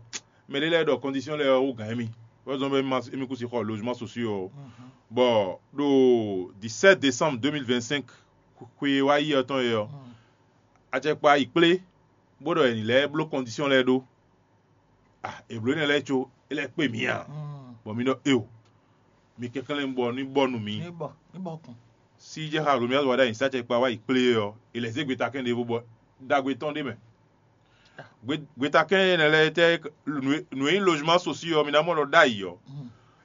mɛ ɖé lɛ́ɛ ɖɔ condition lɛ́ɛ ɔ́ wú gǎn émí, bɔ é zɔ́n bɔ émí ma émí kún sixú xɔ logement sociaux ɔ́. Bɔ ɖo dix-sept décembre deux mille vingt-cinq xwe e wá yi ɔ́ tɔn é ɔ́, acɛkpa yi kplé bó ɖɔ è nǐ lɛ́ bló condition lɛ́ɛ ɖó. Ah, è blǒ énɛ́ lɛ́ɛ có é lɛ́ kpé mǐ ǎ, bɔ mǐ ɖɔ éo, mi kɛnklɛ́n bɔ ní bɔ nú mǐ. Ní bɔ ní bɔ kun. Sí jɛ xa Romiaz wá ɖ'ayǐ sá acɛkpa wá yi kplé é ɔ́, è lɛ̌ zé gbetakɛ́n ɖěvo bɔ ɖagbe tɔn ɖ'é mɛ. Gbe- gbetakɛ́n énɛ́ lɛ́ɛ tɛ́ nǔ e- nǔ e nyí logement sociaux ɔ́, mi ná mɔ ɖɔ ɖ'ayǐ ɔ́,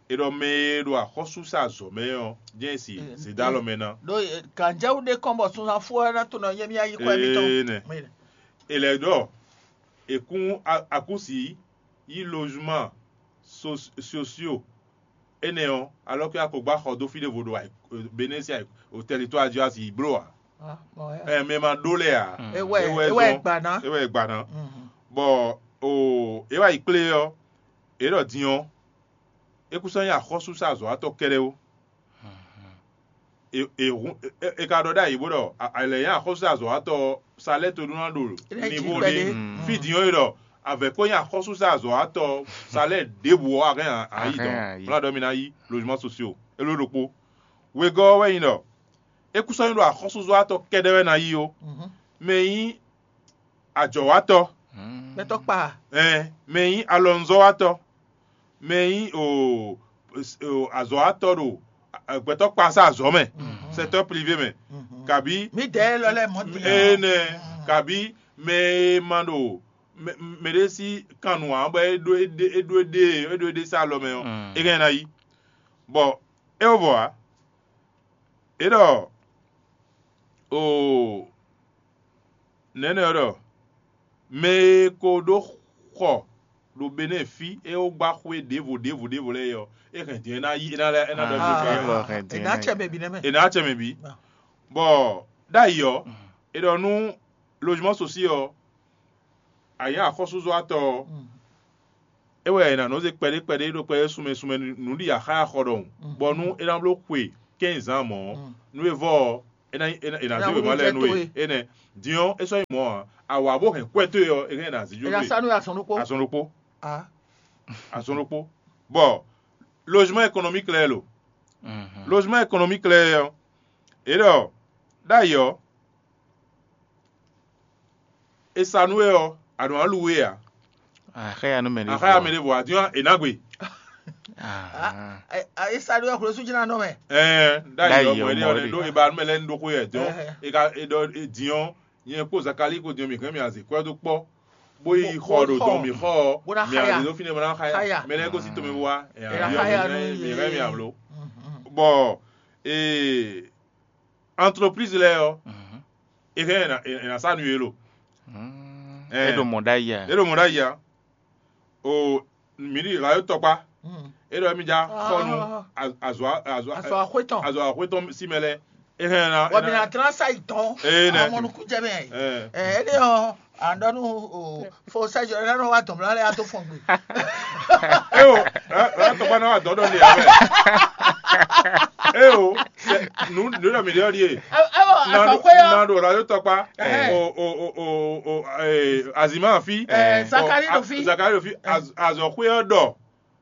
è ɖɔ mɛ e ɖo axɔ́súsa azɔ̌ mɛ ɔ́, jɛ́n e si zědálɔ mɛ ná. Ɖó gǎnjɛwú ɖé kɔn bɔ sunzan fó ɔ́ ná to nɔ nyɛ mía yi xɔ émítɔn. Ee nɛ. È lɛ̌ ɖɔ è kún a- akúsi yí logement so- sociaux énɛ́ ɔ́, alɔ́kɛ a ko gbá xɔ dó fí ɖěvo ɖo Benɛ́si o tɛlitɔ́ Ajiwasi yi bló ǎ. Ɛ mɛ ma ɖó lɛ ǎ. Ewɛ ewɛ zɔn- gba ná. Ewɛ gba ná. Bɔ o é wá yi kplé ɔ́, é ɖɔ din ɔ́, é kún sɔ́ nyí axɔ́súsa azɔ̌watɔ́ kɛ́ɖɛ́ ó. È è hun è- è- è ka ɖɔ ɖ'ayǐ bó ɖɔ a- è lɛ nyí axɔ́súsa azɔ̌watɔ́ ɔ́, salɛ́ to ɖó ná ɖo Lɛ jí nivo kpɛɖé. Ní fí din ɔ́ é ɖɔ avɛ̌ ko nyí axɔ́súsa azɔ̌watɔ́ salɛ́ ɖěbǔ ɔ́ a hɛn a- a yi Ahɛn dɔn a yi. Bla ɖɔ mi ná yí logement sociaux é ló ɖokpó. Wegɔ́ ɔ́ wɛ nyí ɖɔ é kú sɔ́ nyí ɖo axɔ́súzɔ́watɔ́ kɛ́ɖɛ́ wɛ ná yí ó. Mɛ e nyí ajɔ̌watɔ́, Gbɛtɔ́ kpa. Ɛn mɛ e nyí alɔnuzɔ́watɔ́, mɛ e nyí o o azɔ̌watɔ́ ɖo a- gbɛtɔ́ kpasá azɔ̌ mɛ, secteur privé mɛ, kabí Mi dɛ lɔ lɛ mɔ ti. Énɛ́, kabí mɛ e ma ɖo mɛ mɛ ɖé sí kan nǔ ǎ bɔ é ɖó é ɖé é ɖó é ɖé é ɖó é ɖé sá alɔ mɛ ɔ́, é hɛn ná yí. Bɔ é wɔ vɔ ǎ. É ɖɔ oo nɛ̌nɛ ɔ́ ɖɔ mɛ e ko ɖó xɔ ɖo Benɛ́ɛ fí é wó gbá xwé ɖěvo ɖěvo ɖěvo lɛ́ɛ é ɔ́, é hɛn din é ná yí é ná lɛ́ é ná ɖɔ Ah, é wɔ hɛn din Ena ná cɛ yi. Mɛ bi nɛ mɛ. È nǎ acɛ mɛ bǐ. Bɔ ɖ'ayǐ ɔ́, è ɖɔ nú logement sociaux ɔ́, a nyǐ axɔ́súzɔ́watɔ́ ɔ́, é wɛ è nǎ nɔ zé kpɛɖé kpɛɖé ɖo kpɛɖé sunmɛ sunmɛ nǔ ɖi axáya xɔ ɖɔhun, bɔ nú é ná bló xwe kɛ́nzán mɔ̌ ɔ́, nú é vɔ ɔ́, é ná é ná zé wěma lɛ́ɛ nú we. Énɛ́ din ɔ́, é sɔ́ nyí mɔ̌ ǎ. Awǎ bó hɛn kwɛ́ towe ɔ́, é hɛn è nǎ zí jó. È nǎ sa nú azɔn ɖokpó. Azɔn ɖokpó. Azɔn ɖokpó. Bɔ logement économique lɛ́ɛ lo. Logement économique lɛ́ɛ ɔ́, é ɖɔ ɖ'ayǐ ɔ́, è sa nú we ɔ́, a nɔ wá lu we ǎ. Axáya nú mɛ ɖěvo. Axáya mɛ ɖěvo ǎ, din ɔ́, è nǎ gbe. Esa ɖó ɛxlɔ́ sú jɛ́n ná nɔ mɛ. Ɛɛ, ɖ'ayǐ ɔ́, mɔ é ɖe ɔ́ ɖó è ba nú mɛ lɛ́ɛ ní ɖó xó yɛ din ɔ́, è ka è ɖɔ din ɔ́, nyɛ kpó Zakalíi kpó din ɔ́, mǐ hɛn mì azǐ kwɛ́ dó kpɔ́, bó yi xɔ ɖo dɔn mǐ xɔ ɔ́, mǐ azǐ dó fínɛ́ bó ná xáya. Mɛ lɛ́ɛ gosín tomɛ wá, mǐ hɛn mì amló. Bɔ entreprise lɛ́ɛ ɔ́, è hɛn è nǎ sa nú yě lo. É ɖo mɔ̌ ɖ'ayǐ ǎ. É ɖo mɔ̌ ɖ'ayǐ ǎ. O mǐ ɖi ɣǎ tɔkpá. É ɖɔ émí já xɔ nú azɔ̌ azɔ̌ Azɔ̌ axwé tɔn. Azɔ̌ axwé tɔn sí mɛ lɛ́ɛ. É hɛn ná. Wɔ mi na dlán sa yi tɔn. Ee, nɛ. Amɔnukú jɛ mɛ. Ɛ. Ɛ, ele ɔ, andɔnu o fo sɛjɔ ɛ nɔ wa dɔn mla lɛ ato fɔn gbe. Eo, ɛ tɔgba na wa dɔn dɔ le abɛ. Eo, sɛ nu nu dɔ mi de ɔdi ye. Ɛ ɛ wɔ Na do azɔkwe yɔ. Na do radio tɔkpa. Ɛ. O o o o o ee, azima fi. Ɛ, Zakari do fi. Zakari do fi. Azɔkwe yɔ dɔ.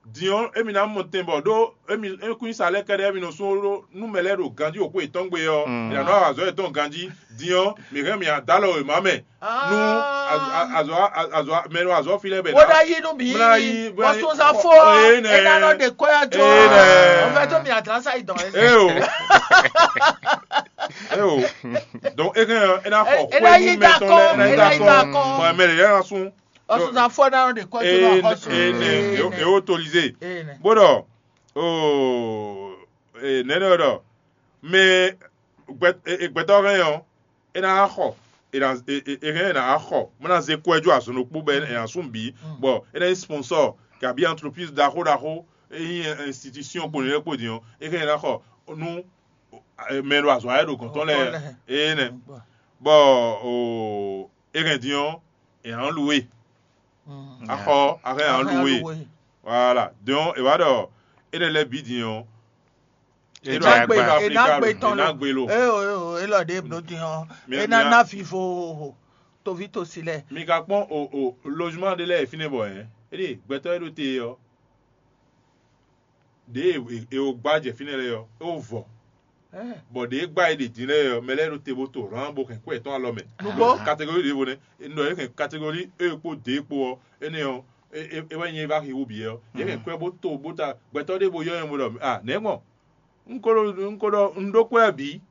Din ɔ́, émí ná mɔ tɛn bɔ ɖó émí ékúnnyísa lɛ́ɛ kɛ́ɖɛ́ émí nɔ sú ɖó nú mɛ lɛ́ɛ ɖo ganjí wǒ xwe yětɔn gbe ɔ́, è nǎ nɔ wa azɔ̌ yětɔn ganjí. Din ɔ́, mǐ hɛn mì adǎ lɔ wěma mɛ nú azɔ̌ azɔ̌ mɛ nɔ azɔ̌ fi lɛ́ɛ bɛ Bó ná yí nú mǐ. Bó ná yí, bó ná yí. Bɔsúnzán fó Ee, nɛ. É ná nɔ ɖe kɔ́yá jó. Ee, nɛ. Ɔn fɛ tó mi àdán sáyé dɔn ɛ. Ee o. Ee o. Donc, é hɛn ɔ́, é ná xɔ É ná xwé yí nú mɛ tɔn lɛ́ɛ, é ná yí dá kɔn. Bɔn mɛ lɛ́ɛ ná sún. Ɔsùnzánfɔ náà ló lè kọ́ tó náà kọ́ sùn. Ene e o tolize. Bó ɖɔ o nɛnɛ ɖɔ mɛ gbɛtɔ hɛn ɔ́, é ná xɔ é hɛn é ná xɔ bó ná zé kɔ́ ɛ jó azɔn ɖokpó bɔ é ná sún bǐ bɔ é ná nyí sponsor kabi entreprise ɖaxó ɖaxó é nyí institution kpo nìyẹn kpo din ɔ́ é hɛn é ná xɔ nú mɛ ɖo azɔ̌ ayɛ ɖo gɔ̌n tɔn lɛ́ɛ é nɛ bɔ o é hɛn din ɔ́ è nǎ lu we. Axɔ axɔ è nǎ lu we. Voilà. Donc è wá ɖɔ é lɛ́ lɛ́ bǐ din ɔ́. É ɖo agbe é ná gbe tɔn lo. É o é o é lɔ ɖě bló din ɔ́. É ná ná vivo toví tosi lɛ. Mi ka kpɔ́n o o logement ɖé lɛ́ɛ fínɛ́ bɔ ɛ é ɖe gbɛtɔ́ é ɖo te ɔ́. Ɖěe è wo gbá jɛ fínɛ́ lɛ́ɛ ɔ́, é wó vɔ. Bɔ ɖě e gbá e ɖe din lɛ́ɛ ɔ́, mɛ lɛ́ɛ ɖo te bó to hǎn bó hɛn kwɛ́ yětɔn alɔ mɛ. Nǔgbó. Kategori ɖěvo nɛ́. Un ɖɔ é hɛn kategori E kpó D kpó ɔ́, énɛ́ ɔ́, é wɛ nyí é vá xixú bǐ ɔ́. É hɛn kwɛ́ bó to bó ta gbɛtɔ́ ɖé bó yɔ́ nyɛ bó ɖɔ a nɛ̌ gbɔn? Un ko ɖo un ko ɖɔ un ɖó kwɛ́ bǐ,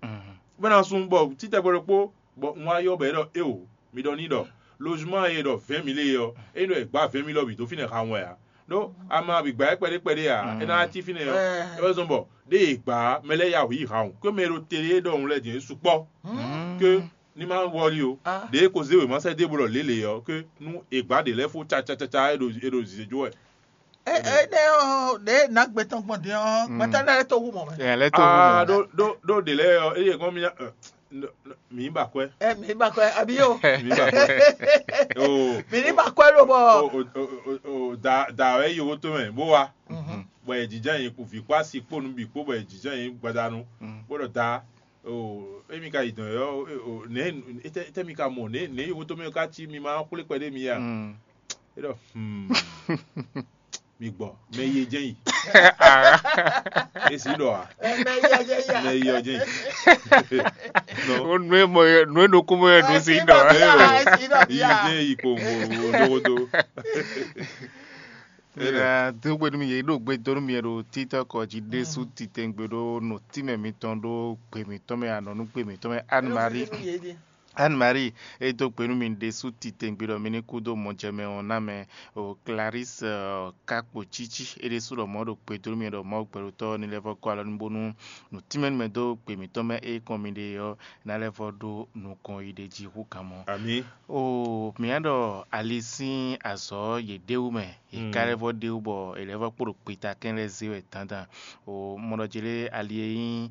bó ná sun bɔ títɛgbɛ ɖokpó bɔ un wá yɔ bɔ é ɖɔ éwo, mi ɖɔ n'i ɖɔ lozuma e ɖɔ vɛ̌ɛn mǐ lé ɔ́, é ɖɔ è gbǎ vɛ̌ɛn mǐ lɔ bǐ dó fínɛ́ ha wɛn ǎ. Ɖó ama bǐ gbǎ ɛ kpɛɖé kpɛɖé ǎ, é ná cí fínɛ́ ɔ́, é wɛ zɔ́n bɔ ɖé è gbǎ mɛ lɛ́ɛ ya wǔ yi ha wun, có mɛ e ɖo te é ɖɔhun lɛ́ɛ din é sukpɔ́, có ní má wɔli ó. Ɖě ko zé wěma sɛ́ dó é bo ɖɔ lě lě ɔ́, có nú è gbǎ ɖě lɛ́ɛ fó cacacaca é ɖo é ɖo zǐzé jó wɛ. Ɛ ɛ ɖe ɔ ɖe nagbe tɔn gbɔn din ɔ gbɛtɔ ɖe lɛ to wu mɔ mɛ. Ɛ lɛ to wu mɔ. Ɖó ɖó ɖó ɖě lɛ́ɛ ɔ́, eye kɔn mi nya mǐ ba kwɛ. Ɛ mǐ ba kwɛ abi o. Mǐ ba kwɛ. O mǐ ní ba kwɛ ló bɔ. O o o o da da wɛ yi wo to mɛ bó wa. Bɔ yɛ jijɛ yi vǐ kpó asi kpó nu bǐ kpó bɔ yɛ jijɛ yi gbadanu. Bó ɖɔ da o emi ka yi dɔn yɔ o nɛ tɛ mi ka mɔ nɛ nɛ yi wo to mɛ ka ci mi ma xwlé kpɛ ɖé mi ya. É ɖɔ mi gbɔ mɛ yi jɛn yi. Esi ɖɔ a. Mɛ yi ɔ jɛn yi. Mɛ yi ɔ jɛn yi. O nue mɔ yɛ nue ɖokó mɔ yɛ ɖo si ɖɔ. Yi jɛn yi ko ŋgo ɖogodo. Dó gbe nú mi yě ɖo gbe dó nú mi ɖo títɔ́ kɔ jí ɖésú titɛngbe ɖó nɔ tínmɛ mitɔn ɖó gbe mitɔn mɛ anɔ nú gbe mitɔn mɛ Anne Marie. Anne Marie, e dó gbe nú mi ɖésú titɛngbe ɖɔ mi ní kú dó mɔjɛmɛ ɔ́ ná mɛ. O Clarisse ɔ, ka kpo cící é ɖésú ɖɔ mɔ̌ ɖo gbe dó nú mi ɖɔ Mawu gbɛɖotɔ́ ní lɛ́ vɔ́ gɔ́ alɔ nú bónú nǔtínmɛ nú mɛ dó gbe mǐtɔn mɛ é kɔn mi ɖe ɔ́ ná lɛ́ vɔ́ ɖó nukɔn yi ɖe jí hú kan mɔ. Amǐ. O mǐ ná ɖɔ ali sín azɔ̌ yě ɖe wú mɛ, yě ka lɛ́ vɔ́ ɖe wú bɔ è lɛ́ vɔ́ kpo ɖo kpitakɛn lɛ́ɛ zé wɛ dandan. O mɔ ɖɔ jě lé ali e nyí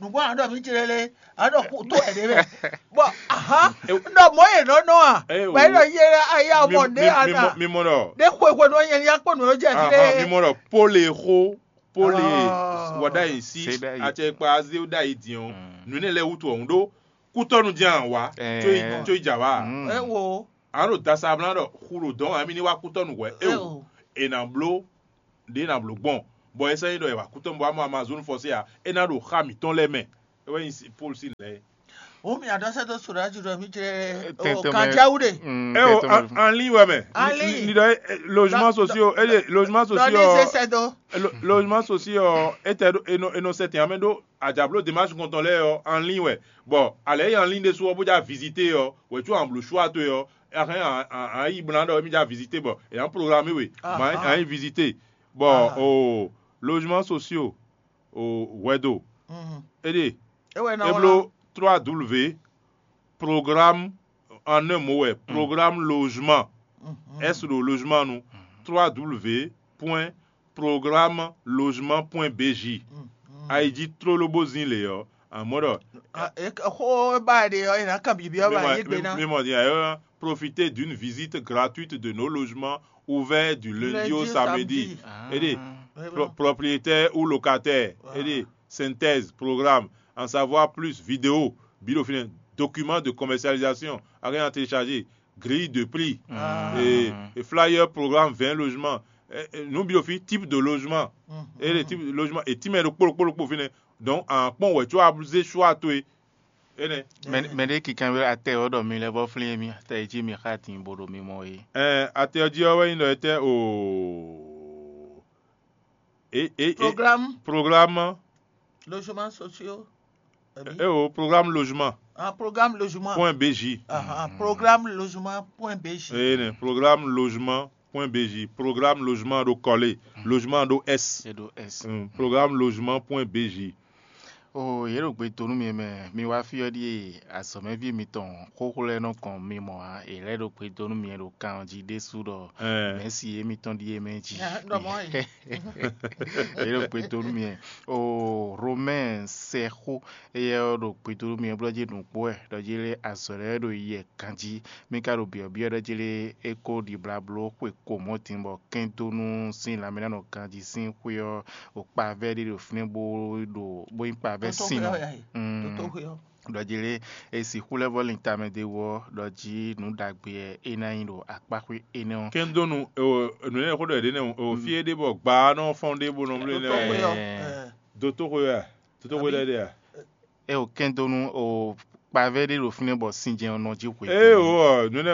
Nǔgbó a ɖɔ mǐ jlé lé, a ɖɔ kú tó ɛ ɖé mɛ. Bɔ aha, un ɖɔ mɔ̌ yě nɔ nɔ a? Wɛ ɖɔ yé ayé a mɔ ɖé a na. Mi mɔ ɖɔ. Ɖé xwe xwe nɔ nyɛ ní akpɔ nǔ jɛ fi ɖé. Mi mɔ ɖɔ pole xó pole wɔ ɖ'ayǐ sí acɛkpa azé ɖ'ayǐ dín ɔ́, nǔ énɛ́ lɛ́ɛ wútu ɔ́, un ɖó kútɔ́nu jɛ́n a wǎ, có yi jǎ wá. Ɛ wo. A nɔ ɖo dasa blá ɖɔ xu ɖo dɔ̌n ǎ, émí ní wá kútɔ́nu hwɛ̌. Éo, è nǎ bló ɖě è nǎ bló gbɔn, bɔ é sɔ́ nyí ɖɔ è wǎ kútɔ́nu bɔ wá mɔ Amazon fɔsé ǎ, é ná ɖo xá mǐtɔn lɛ́ɛ mɛ. É wɛ nyí Pɔ́lu sín lɛ̌. Ó mì àdɔ́sɛ́ dó sǒɖá jù ɖɔ mí jlɛ́ kanjá wú ɖe. Ɛ o, anlín wɛ mɛ. Anlín. Ni ɖɔ logement social, é ɖe logement social. Logement social, é tɛ ɖo, é nɔ sɛ tɛn amɛ ɖó àjǎbló démarche kɔntɔn lɛ́ɛ ɔ́, anlín wɛ. Bɔ alɛ yi anlín ɖésú ɔ́, bó já visité ɔ́, wɛ có an blǒ choix towe ɔ́, a hɛn an yi bó ná ɖɔ émí já visité bɔ è nǎ programmé we, ma a yi visité. Bɔ o logement social o hwɛdo. É ɖe é bló trois W programme en un mot wɛ, programme logement. S ɖo logement nu, trois W point programme logement point B J. A yi jí tlóló bó zín lě ɔ́, amɔ̌ ɖɔ xó e ba ɖe ɔ́, è nǎ kan byɔ̌byɔ́ ba yí gbe ná. Mi mɔ din ayɔ, profiter d'une visite gratuite de nos logements ouverts du lundi au samedi. Aidez propriétaire ou locataire. Aidez synthèse programme, en savoir plus vidéo, bilo fine, document de commercialisation, rien à télécharger, grille de prix, et flyer programme vingt logements. Nǔ bilo fí type de logement. Eye type de logement e tínmɛ ɖokpó ɖokpó ɖokpó fínɛ́. Donc a kpɔ́n wɛ có a zé choix towe. Énɛ́. Mɛ ɖé kinkanbyɔ́ atɛ ɔ́ ɖɔ mi lɛ́ vɔ́ flín émí atɛ e jí mi xá din bo ɖo mi mɔ é. Ɛn atɛ ɔ́ jí ɔ́ wɛ nyí ɖɔ étɛ́ o. É é é. Programme. Programme. Logement sociaux. É o programme logement. Ah, programme logement. Point B J. Ah, programme logement point B J. Énɛ́, programme logement point B J, programme logement ɖo kɔlé, logement ɖo S. É ɖo S. Programme logement point B J. O yě ɖo gbe dó nú mi mɛ, mi wá fí ɔ́ ɖíe azɔ̌mɛví mitɔn xóxó lɛ́ɛ nɔ gɔn mi mɔ ǎ. È lɛ́ ɖo gbe dó nú mi ɖo kan ɔ́ jí ɖésú ɖɔ mɛ̌si émítɔn ɖíe mɛ jí. Yě ɖo gbe dó nú mi. O Romɛ́ɛ sɛxó éyɛ́ ɔ́ ɖo gbe dó nú mi blɔ́ jí nǔgbó wɛ ɖɔ jí lé azɔ̌ lɛ́ɛ ɖo yɛ ganjí. Mi ka ɖo byɔ̌byɔ́ ɖɔ jí lé é kó ɖibla bló xwe ko mɔ̌ din bɔ kɛndónú sín lanmɛnánɔ ganjí sín xwé ɔ́, ɖo kpavɛ́ ɖé ɖo fínɛ́ bó ɖo bó nyí kpavɛ́ sin nɔ. Ɖɔ jí lé e sixú lɛ́ vɔ́ lin tamɛ d'é wú ɔ́, ɖɔ jí nǔ ɖagbe wɛ é ná nyí ɖo akpáxwé énɛ́ ɔ́. Kɛndónú, nǔ énɛ́ xó ɖɔ è ɖě nɛ́ o, fí é ɖe bɔ gbǎ nɔ fɔ́n ɖé bó nɔ bló énɛ́ wɛ. Dotóxwé wɛ a? Dotóxwé lɛ́ɛ ɖe a? É o kɛndónú o kpavɛ́ ɖé ɖo fínɛ́ bɔ sinjɛn ɔ́ nɔ jí xwe. Ée o ɔ nǔnɛ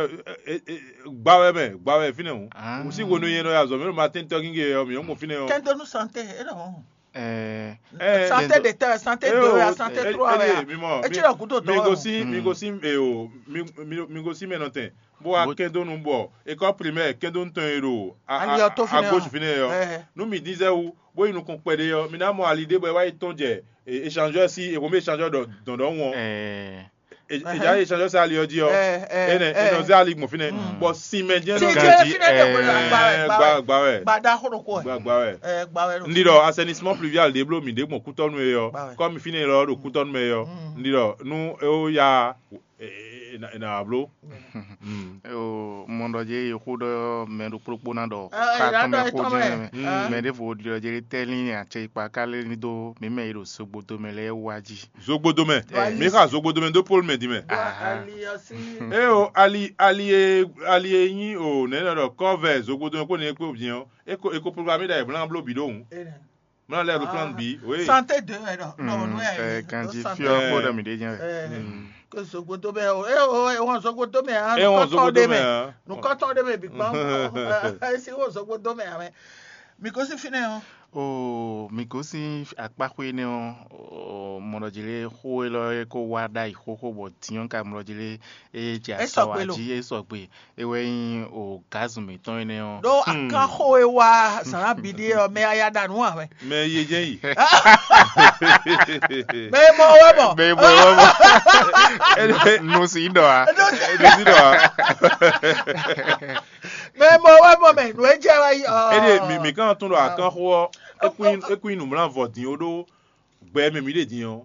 gba wɛ mɛ gba wɛ fínɛ́ hǔn. Wǔsí hwenu nyɛ nɔ ya zɔ̌ mɛ ɖo Matín tɔ́gígé ɔ́ mǐ nɔ mɔ fínɛ́ ɔ́. Kɛndónú santé é ɖɔ hɔn. Ɛɛ Santé de tɛ santé de wɛ santé trɔ wɛ ya. Mi mɔ Etsi ɖɔ gúdo mi dɔn. Gosi mi gosi e o mi mi mi gosi mɛ nɔtɛn bó wá kɛndónú bɔ école primaire kɛndónú tɔn e ɖo a- Ali ɔ́ tó a- fínɛ́ à gauche ɔ́. Fínɛ́ ɔ́. Ɛɛ. Nú mi dín zɛ wú bó yi nukɔn kpɛɖé ɔ́ mi ná mɔ ali ɖé bɔ é wá yi tɔn jɛ échangeur sí èkó mɛ échangeur dɔn dɔn wọn. Ɛɛ. Eja échangeur sí ali ɔ́ jí ɔ́. Ɛɛ, ɛɛ, Enɛ ɛɛ. Enɔ zé ali gbɔn fínɛ́ bɔ sinmɛ jɛn Tí nɔ jẹ́ Ganji, fínɛ́ tɛ kó lè ɛɛ, gba wɛ gba wɛ. Gba wɛ. Gba da xó ɖokó wɛ. Gba gba wɛ. Ɛɛ gba wɛ ɖo. Ndi ɖɔ assainissement pluvial ɖe bló mi ɖe gbɔn kútɔnu e ɔ́ Gba wɛ. Kɔmi fínɛ́ lɔ ɖo kútɔnu mɛ ɔ́. Ndi ɖɔ nú é ó ya e na wá bló. Mɔ ɖɔ jɛ yi xó ɖɔ mɛ ɖo kplókpó ná ɖɔ Ɛ, xá ɛ, tɔn mɛ ɛ, xó tɔn jɛn mɛ. Mɛ ɖěvo ɖɔ jɛ tɛ́ lín acɛ ikpa ká lé ní dó mǐ mɛ yi ɖo sogbodo mɛ lɛ́ɛ wá jí. Zogbodomɛ. Wá yí. Mi xa zogbodomɛ dó polu mɛ din mɛ. Bɔ ali ɔ́ sí. Eo ali ali e ali e nyi o nɛ nɔ ɖɔ kɔvɛ zogbodomɛ kpo ne kpo viɛn ɔ eko eko programme da eblan blo bi ɖo ŋu. Ena. Mla lɛ aeroplane bi oui. Santé de ɛ nɔ nɔ nu ɛ Ɛ ganji santé. Fiɔ kpó ɖe mi ɖe jɛn. Ɛ ke zogbodomɛ o e o e wɔn zogbodomɛ a E wɔn nukɔtɔn ɖe zogbodomɛ mɛ a. Nukɔtɔn ɖe mɛ bi gbɔn esi wo zogbodomɛ a mɛ. Mi ko si finɛ o. O mi gosín akpáxwé énɛ́ ɔ́, mɔɖɔjilé xó élɔ́ é kó wá ɖ'ayǐ xóxó bɔ din ɔ́ ka mɔɖɔjilé é jɛ É azɔ̌ sɔgbe wá lo. Jí é sɔgbe. É wɛ nyí o gǎzun mǐtɔn énɛ́ ɔ́. Ɖó akánxó e wá zǎn ná bǐ ɖíe ɔ́, mɛ aya ɖa nǔ ǎ wɛ. Mɛ ye jɛ́n yi. Mɛ e mɔ wɛ mɔ. Mɛ e mɔ wɛ mɔ. Nú sí ɖɔ a. Ɖo sí ɖɔ a. Mɛ e mɔ wɛ mɔ mɛ nǔ e jɛ wɛ yi. Ɔ. Ede mi mi kan tún ɖɔ akánxó ɔ́, é kún é kún nyi nǔmlá vɔ din ó ɖó gbɛ mɛ mi ɖe din ɔ́.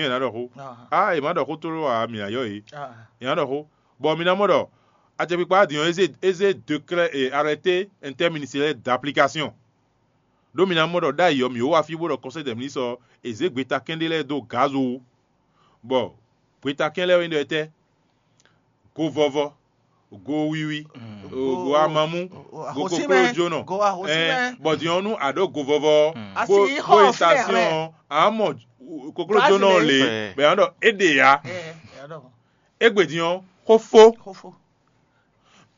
din ɛ ná ɖɔ xó. Ah, è má ɖɔ xó tlóló ǎ, mǐ ná yɔ yě. È ná ɖɔ xó. Bɔ mi ná mɔ ɖɔ acɛkpikpa din ɔ́, é zé é zé décret et arrêté interministériel d'application. Ɖó mi ná mɔ ɖɔ ɖ'ayǐ ɔ́, mǐ wó wá fí bó ɖɔ Conseil des ministres ɔ́, è zě gbetakɛ́n ɖé lɛ́ɛ dó Gazo wú. Bɔ gbetakɛ́n lɛ́ɛ ɔ́ nyí ɖɔ étɛ́? Go vɔvɔ, go wiwi, go amamú, go koklójónɔ. Bɔ din ɔ́, nú a ɖǒ go vɔvɔ ɔ́, bó yi station ɔ́, a nǎ mɔ koklójónɔ ɔ́ lě, bɔ è nǎ ɖɔ é ɖe ǎ. Égbé din ɔ́, xó fó.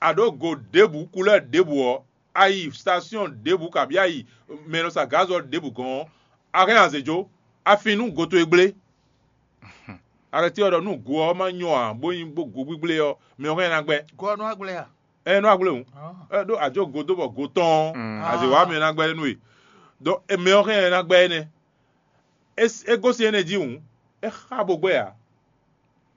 A ɖǒ go ɖěbǔ, kulɛ́ ɖěbǔ ɔ́, a yi station ɖěbǔ kabǐ a yi mɛ e nɔ sa gǎn azɔ̌ ɖěbǔ gɔ́n ɔ́, a hɛn azě jó, a fin nú go towe gblé. Arɛ́ti ɔ́ ɖɔ nú go ɔ́ ma nyɔ ǎ, bó nyí bó go gbígblé ɔ́, mɛ ɔ́ hɛn ná gbɛ́. Go ɔ́ nɔ wá gblé a? Ɛ nɔ wá gblé hǔn. Ɛ ɖó a jó go dó bɔ go tɔn ɔ́, azě wá mɛ ná gbɛ́ nú we. Dɔn mɛ ɔ́ hɛn ná gbɛ́ énɛ́. É gosín énɛ́ jí hǔn, é xá bo gbɛ́ ǎ.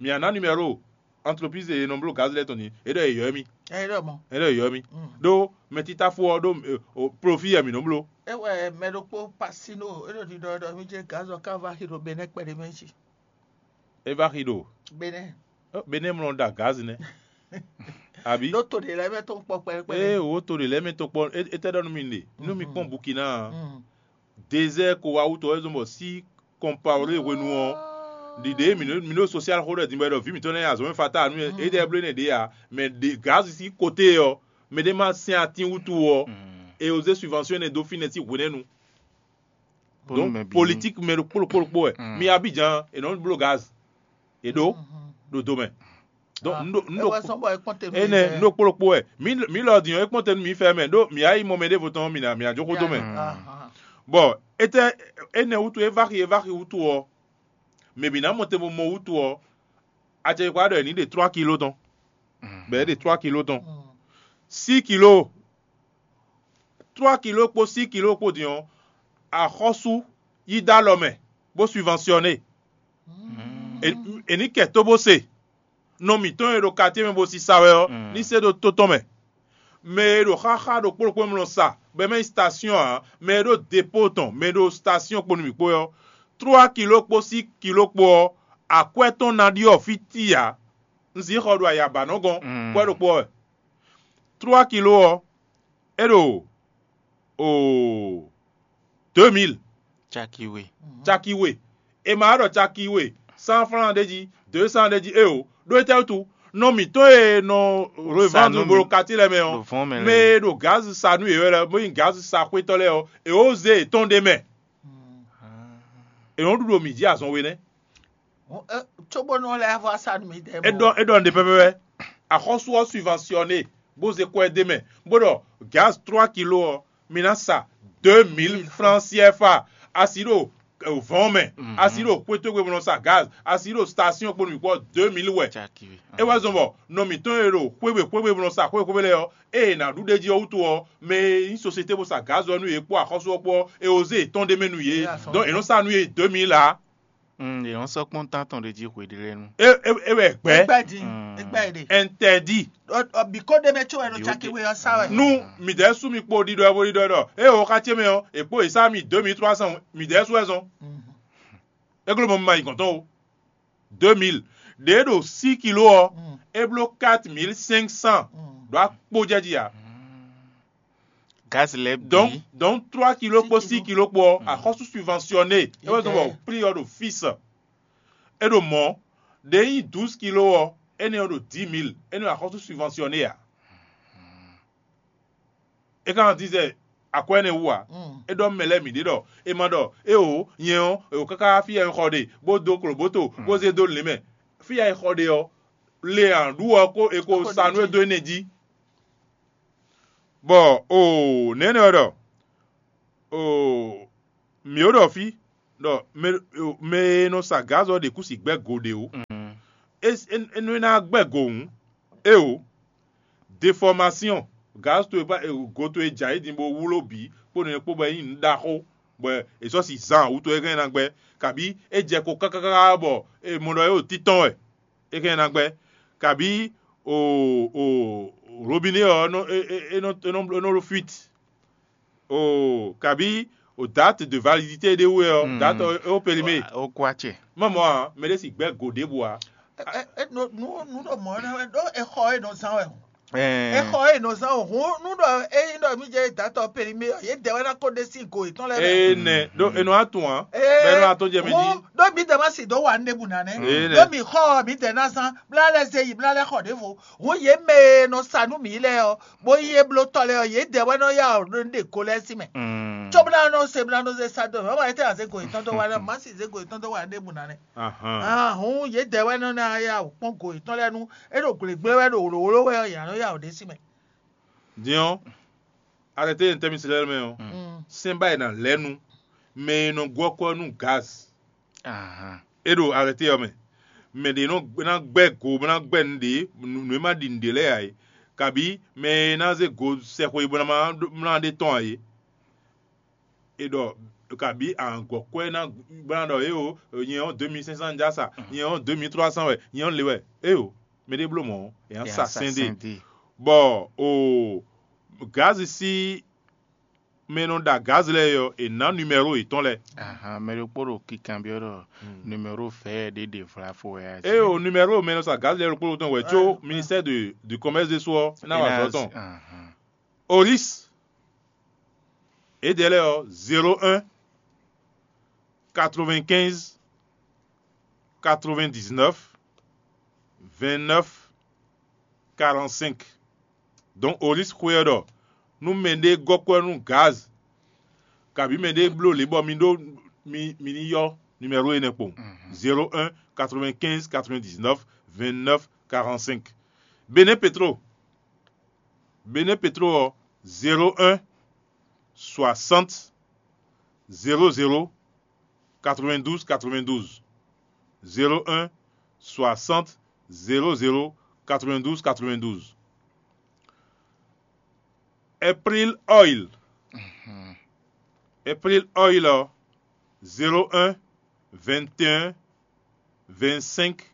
Mǐ ná ná nimɛro entreprise e nɔ bló gaz lɛ́ɛ tɔn din, é ɖɔ è ylɔ́ mì. É ɖɔ mɔ. É ɖɔ è ylɔ́ mì. Ɖó mɛ títáfó ɔ́ ɖó profit wɛ mǐ nɔ bló. É wɛ mɛ ɖokpó Pasino é ɖo ɖiɖɔ ɖɔ mí jɛ gaz ɔ́ ká va xi ɖo Benɛ́ kpɛɖé mɛ jí. É va xi ɖo Benɛ́. Benɛ́ mlɔ ɖa gaz nɛ́. Abi? Ɖó to ɖě lɛ́ɛ mɛ tɔn kpɔ kpɛɖé kpɛɖé. Ee, wo to ɖě lɛ́ɛ mɛ tɔn kpɔ, étɛ́ ɖɔ nú mi ɖe? Nú mi kpɔn Bukina. Désert ko wá wútu ɔ́, é zɔ́n bɔ sí kɔnpawlé hwenu ɔ́, ɖiɖe mi ɖo mi ɖo social xó ɖɔ din bɔ é ɖɔ vǐ mǐtɔn lɛ́ɛ nyi azɔ̌ mɛ fatáa nú éɖɛ́ bló énɛ́ ɖě ǎ, mɛ ɖě gǎzi sín koté ɔ́, mɛ ɖé ma sɛn atín wútu ɔ́, è wozé subventionné dó fínɛ́ sín hwenɛ́nu. Donc politique mɛ ɖokpó ɖokpó ɖokpó wɛ. Mi Abidjan è nɔ bló gaz, è ɖó ɖo do mɛ. Donc un ɖo un ɖo énɛ́ un ɖo kpó ɖokpó wɛ. Mi mi lɔ din ɔ́, é kpɔ́n te nú mi fɛ mɛ ɖó mi yá yi mɔ mɛ ɖěvo tɔn mi ná mi ná jó xó dó mɛ. Bɔ étɛ́ énɛ́ wútu é va xi é va xi wútu ɔ́, mɛ bǐ ná mɔ te bo mɔ wútu ɔ́, acɛkpikpa ɖɔ è nǐ ɖe trois kilo tɔn, bɔ é ɖe trois kilo tɔn. Six kilo, trois kilo kpó six kilo kpó din ɔ́, axɔ́sú yí dó alɔ mɛ bó subventionné. È nǐ kɛ tó bó se. Nɔ mǐtɔn e ɖo katíe mɛ bo sisa wɛ ɔ́, ní se ɖó tó tɔn mɛ. Mɛ e ɖo xáxá ɖokpó ɖokpó mlɔ sa, bɔ é mɛ nyí station ǎ, mɛ e ɖó depóo tɔn, mɛ e ɖo station kpó nú mǐ kpó ɔ́, trois kilo kpó six kilo kpó ɔ́, akwɛ́ tɔn ná ɖyɔ́ fí ti ǎ. Un zǐn xɔ ɖo ayaba nɔ gɔ́n, kwɛ́ ɖokpó wɛ. Trois kilo ɔ́, é ɖo oo deux mille. Caki we. Caki we. È ma ɖɔ caki we cent francs ɖ'é jí, deux cents ɖ'é jí, éeǒ. Ɖó étɛ́ wútu? Nɔ mǐtɔn e nɔ revendre bolo kati lɛ́ɛ mɛ ɔ́, mɛ e ɖo gaz sa nú yě wɛ lɛ́ɛ, bó nyí gaz sa xwétɔ́ lɛ́ɛ ɔ́, è wǒ zé yětɔn ɖ'é mɛ. È nɔ ɖu ɖo mǐ jí azɔn we nɛ́. Cóbónú ɔ́ lɛ́ vɔ sa nú mi dɛ. É ɖɔ é ɖɔ nǔɖé pɛpɛpɛ. Axɔ́sú ɔ́ subventionné bó zé kwɛ́ d'é mɛ, bó ɖɔ gaz trois kilo ɔ́, mi ná sa deux mille francs C F A. Asi ɖo vɔ̌n mɛ, asi ɖo xwétógbe bó nɔ sa gaz, asi ɖo station kpó nǔ kpɔ́ deux mille wɛ. É wɛ zɔn bɔ nɔ mǐtɔn e ɖo xwéwe xwéwe bó nɔ sa xwéwe xwéwe lɛ́ɛ ɔ́, ée è nǎ ɖu ɖ'é jí ɔ́ wútu ɔ́, mɛ e nyí sosiyete bó sa gaz ɔ́ nú yě kpó axɔ́sú ɔ́ kpó ɔ́, è wǒ zé yětɔn ɖ'é mɛ nú yě. Donc è nɔ sa nú yě deux mille ǎ. Yě nɔ sɔ́ kpɔ́n tán tɔn ɖé jí hwe ɖé lɛ́ɛ nu. É é é wɛ gbɛ́. Gbɛ́ din, gbɛ́ ɖe. Interdit. Biko ɖé mɛ tso wɛ ɖo caki we ɔ́ sa wɛ. Nú mǐdɛɛ sú mi kpo ɖiɖɔ ɛ bo ɖiɖɔ ɛ ɖɔ, ée o xá ce mɛ ɔ́, è kpó è sá mi deux mille trois cents, mǐdɛɛ sú wɛ zɔn. É gló mɔ mi ma yi gɔ̌n tɔn o. Deux mille. Ɖě ɖo six kilo ɔ́, é bló quatre mille cinq cents ɖo akpó jɛ jí ǎ. Gaz lɛ́ɛ bǐ. Donc donc trois kilo kpó six kilo kpó ɔ́, axɔ́sú subventionné. É wɛ zɔn bɔ prix ɔ́ ɖo fixe. É ɖo mɔ̌, ɖě nyí douze kilo ɔ́, énɛ́ ɔ́ ɖo dix mille, énɛ́ ɔ́ axɔ́sú subventionné ǎ. É ka nɔ dín zɛ akwɛ́ énɛ́ wú ǎ. É ɖɔ mɛ lɛ́ɛ mǐ ɖe ɖɔ è ma ɖɔ éeǒ, nyɛ ɔ́, è wǒ káká fí e un xɔ ɖe, bó dó klobǒto, bó zé dó lě mɛ. Fí e è xɔ ɖe ɔ́, le ǎ ɖu ɔ́ kó è ko sa nú é dó énɛ́ jí. Bɔ oo nɛ̌nɛ́ ɔ́ ɖɔ oo mǐ ó ɖɔ fí ɖɔ mɛ mɛ e nɔ sa gǎz ɔ́ ɖě kú si gbɛ́ go ɖě ó. É é é nú é ná gbɛ́ go hǔn, éeǒ, defɔmasyɔn, gǎz towe ba go towe jɛ ayǐ din bó wló bǐ kpó nɛnɛ kpó bɔ é nyí nǔ ɖaxó bɔ è sɔ́ si zan wǔtu é hɛn ná gbɛ́, kabǐ é jɛ ko káká bɔ è mɔ ɖɔ é ɖo títɔn wɛ, é hɛn ná gbɛ́, kabǐ o o robinet ɔ́ nɔ é é é nɔ é nɔ é nɔ ɖo fuite. Oo, kabǐ o date de validité ɖé wú wɛ ɔ́, date ɔ́ é wó périmé. Ó kú acɛ. Mɔmɔ ǎ, mɛ ɖé si gbɛ́ go ɖěbǔ ǎ. Ɛ- ɛ- ɛ- nu nu nu ɖo mɔ̌ ná wɛ ɖó exɔ e nɔ zán wɛ o. Ɛɛ, exɔ e nɔ zán o hun nu ɖɔ eyin ɖɔ mi jɛ datɔ périmé ɔ yě dɛ wɛ ná kó ɖe sín go yětɔn lɛ́ɛ mɛ. Ee nɛ ɖó enɔ atún ǎ. Bɛ enɔ atɔn jɛ mɛ jí. Ɖó mi dɛ ma si dó wa nɖe bu nanɛ. Ee nɛ. Ɖó mi xɔ mi dɛ na zán bla lɛ ze yi bla lɛ xɔ ɖěvo. Hun yě mɛ e nɔ sa nú mi lɛ́ɛ ɔ bó nyí éblótɔ́ lɛ́ɛ ɔ́, yědɛɛ wɛ nɔ yá wǔ ɖe go lɛ́ɛ sín mɛ. Cóbó ná nɔ se bó ná nɔ zé sá dó mɛ, wá ma yɛ tɛ́ ná zé go yětɔn dó wá lɛ́ɛ, má sì zé go yětɔn dó wá ɖěbǔ ná nɛ́. Ahun yědɛɛ wɛ nɔ ná yá wǔ kpɔ́n go yětɔn lɛ́ɛ nú é ɖo gblěgblé wɛ ɖo wlǒwló wɛ ɔ́, yě ná nɔ yá wǔ ɖe sín mɛ. Din ɔ́, a lɛ tɛ́ nyɛ tɛ́ mì se lɛ́ɛ mɛ ɔ́, sɛ́n ba è nǎ lɛ́ nu mɛ e nɔ gɔ́ kɔ́ nú gaz. É ɖo arɛté ɔ́ mɛ. Mɛ ɖě nɔ ná gbɛ́ go bó ná gbɛ́ nǔɖé nǔ e ma ɖi nǔɖé lɛ́ɛ ǎ é, kabǐ mɛ e ná zé go sɛxwe bó ná ma mlá ɖé tɔn ǎ é. È ɖɔ kabǐ ahɔ̌ngbɔ́kwɛ́ ná bó ná ɖɔ éeǒ, nyɛ ɔ́ deux mille cinq cent já sa, nyɛ ɔ́ deux mille trois cent wɛ, nyɛ ɔ́ le wɛ. Éeǒ, mɛ ɖé bló mɔ̌, è nǎ sa sɛn ɖe. Bɔ o gǎzi sín mɛ e nɔ ɖa gǎzi lɛ́ɛ é ɔ́, è nǎ numɛro yětɔn lɛ́ɛ. Ahan, mɛ ɖokpó ɖo kinkanbyɔ́ ɖɔ numɛro vɛ̌ ɖé ɖe vlafo wɛ a jí. Ée o numɛro mɛ e nɔ sa gǎzi lɛ́ɛ ɖokpó ɖokpó tɔn wɛ có ministère de du commerce ɖésú ɔ́ ná wa azɔ̌ tɔn. Ahan. Oris, édɛɛ lɛ́ɛ ɔ́, zéro un, quatre-vingt-quinze, quatre-vingt-dix-neuf, vingt-neuf, quarante-cinq. Donc Oris xwe ɔ́ ɖɔ nú mɛɖé gɔ́ kwɛ́ nú gaz, kabǐ mɛɖé bló lě bɔ mi ɖó mi mi ní yɔ́ numéro énɛ́ kpowun: zéro un, quatre-vingt-quinze, quatre-vingt-dix-neuf, vingt-neuf, quarante-cinq. Benɛ́ Petro, Benɛ́ Petro ɔ́, zéro un, soixante, zéro zéro, quatre-vingt-douze, quatre-vingt-douze. Zéro un, soixante, zéro zéro, quatre-vingt-douze, quatre-vingt-douze. April Oil. April Oil ɔ́, zéro un, vingt et un, vingt-cinq,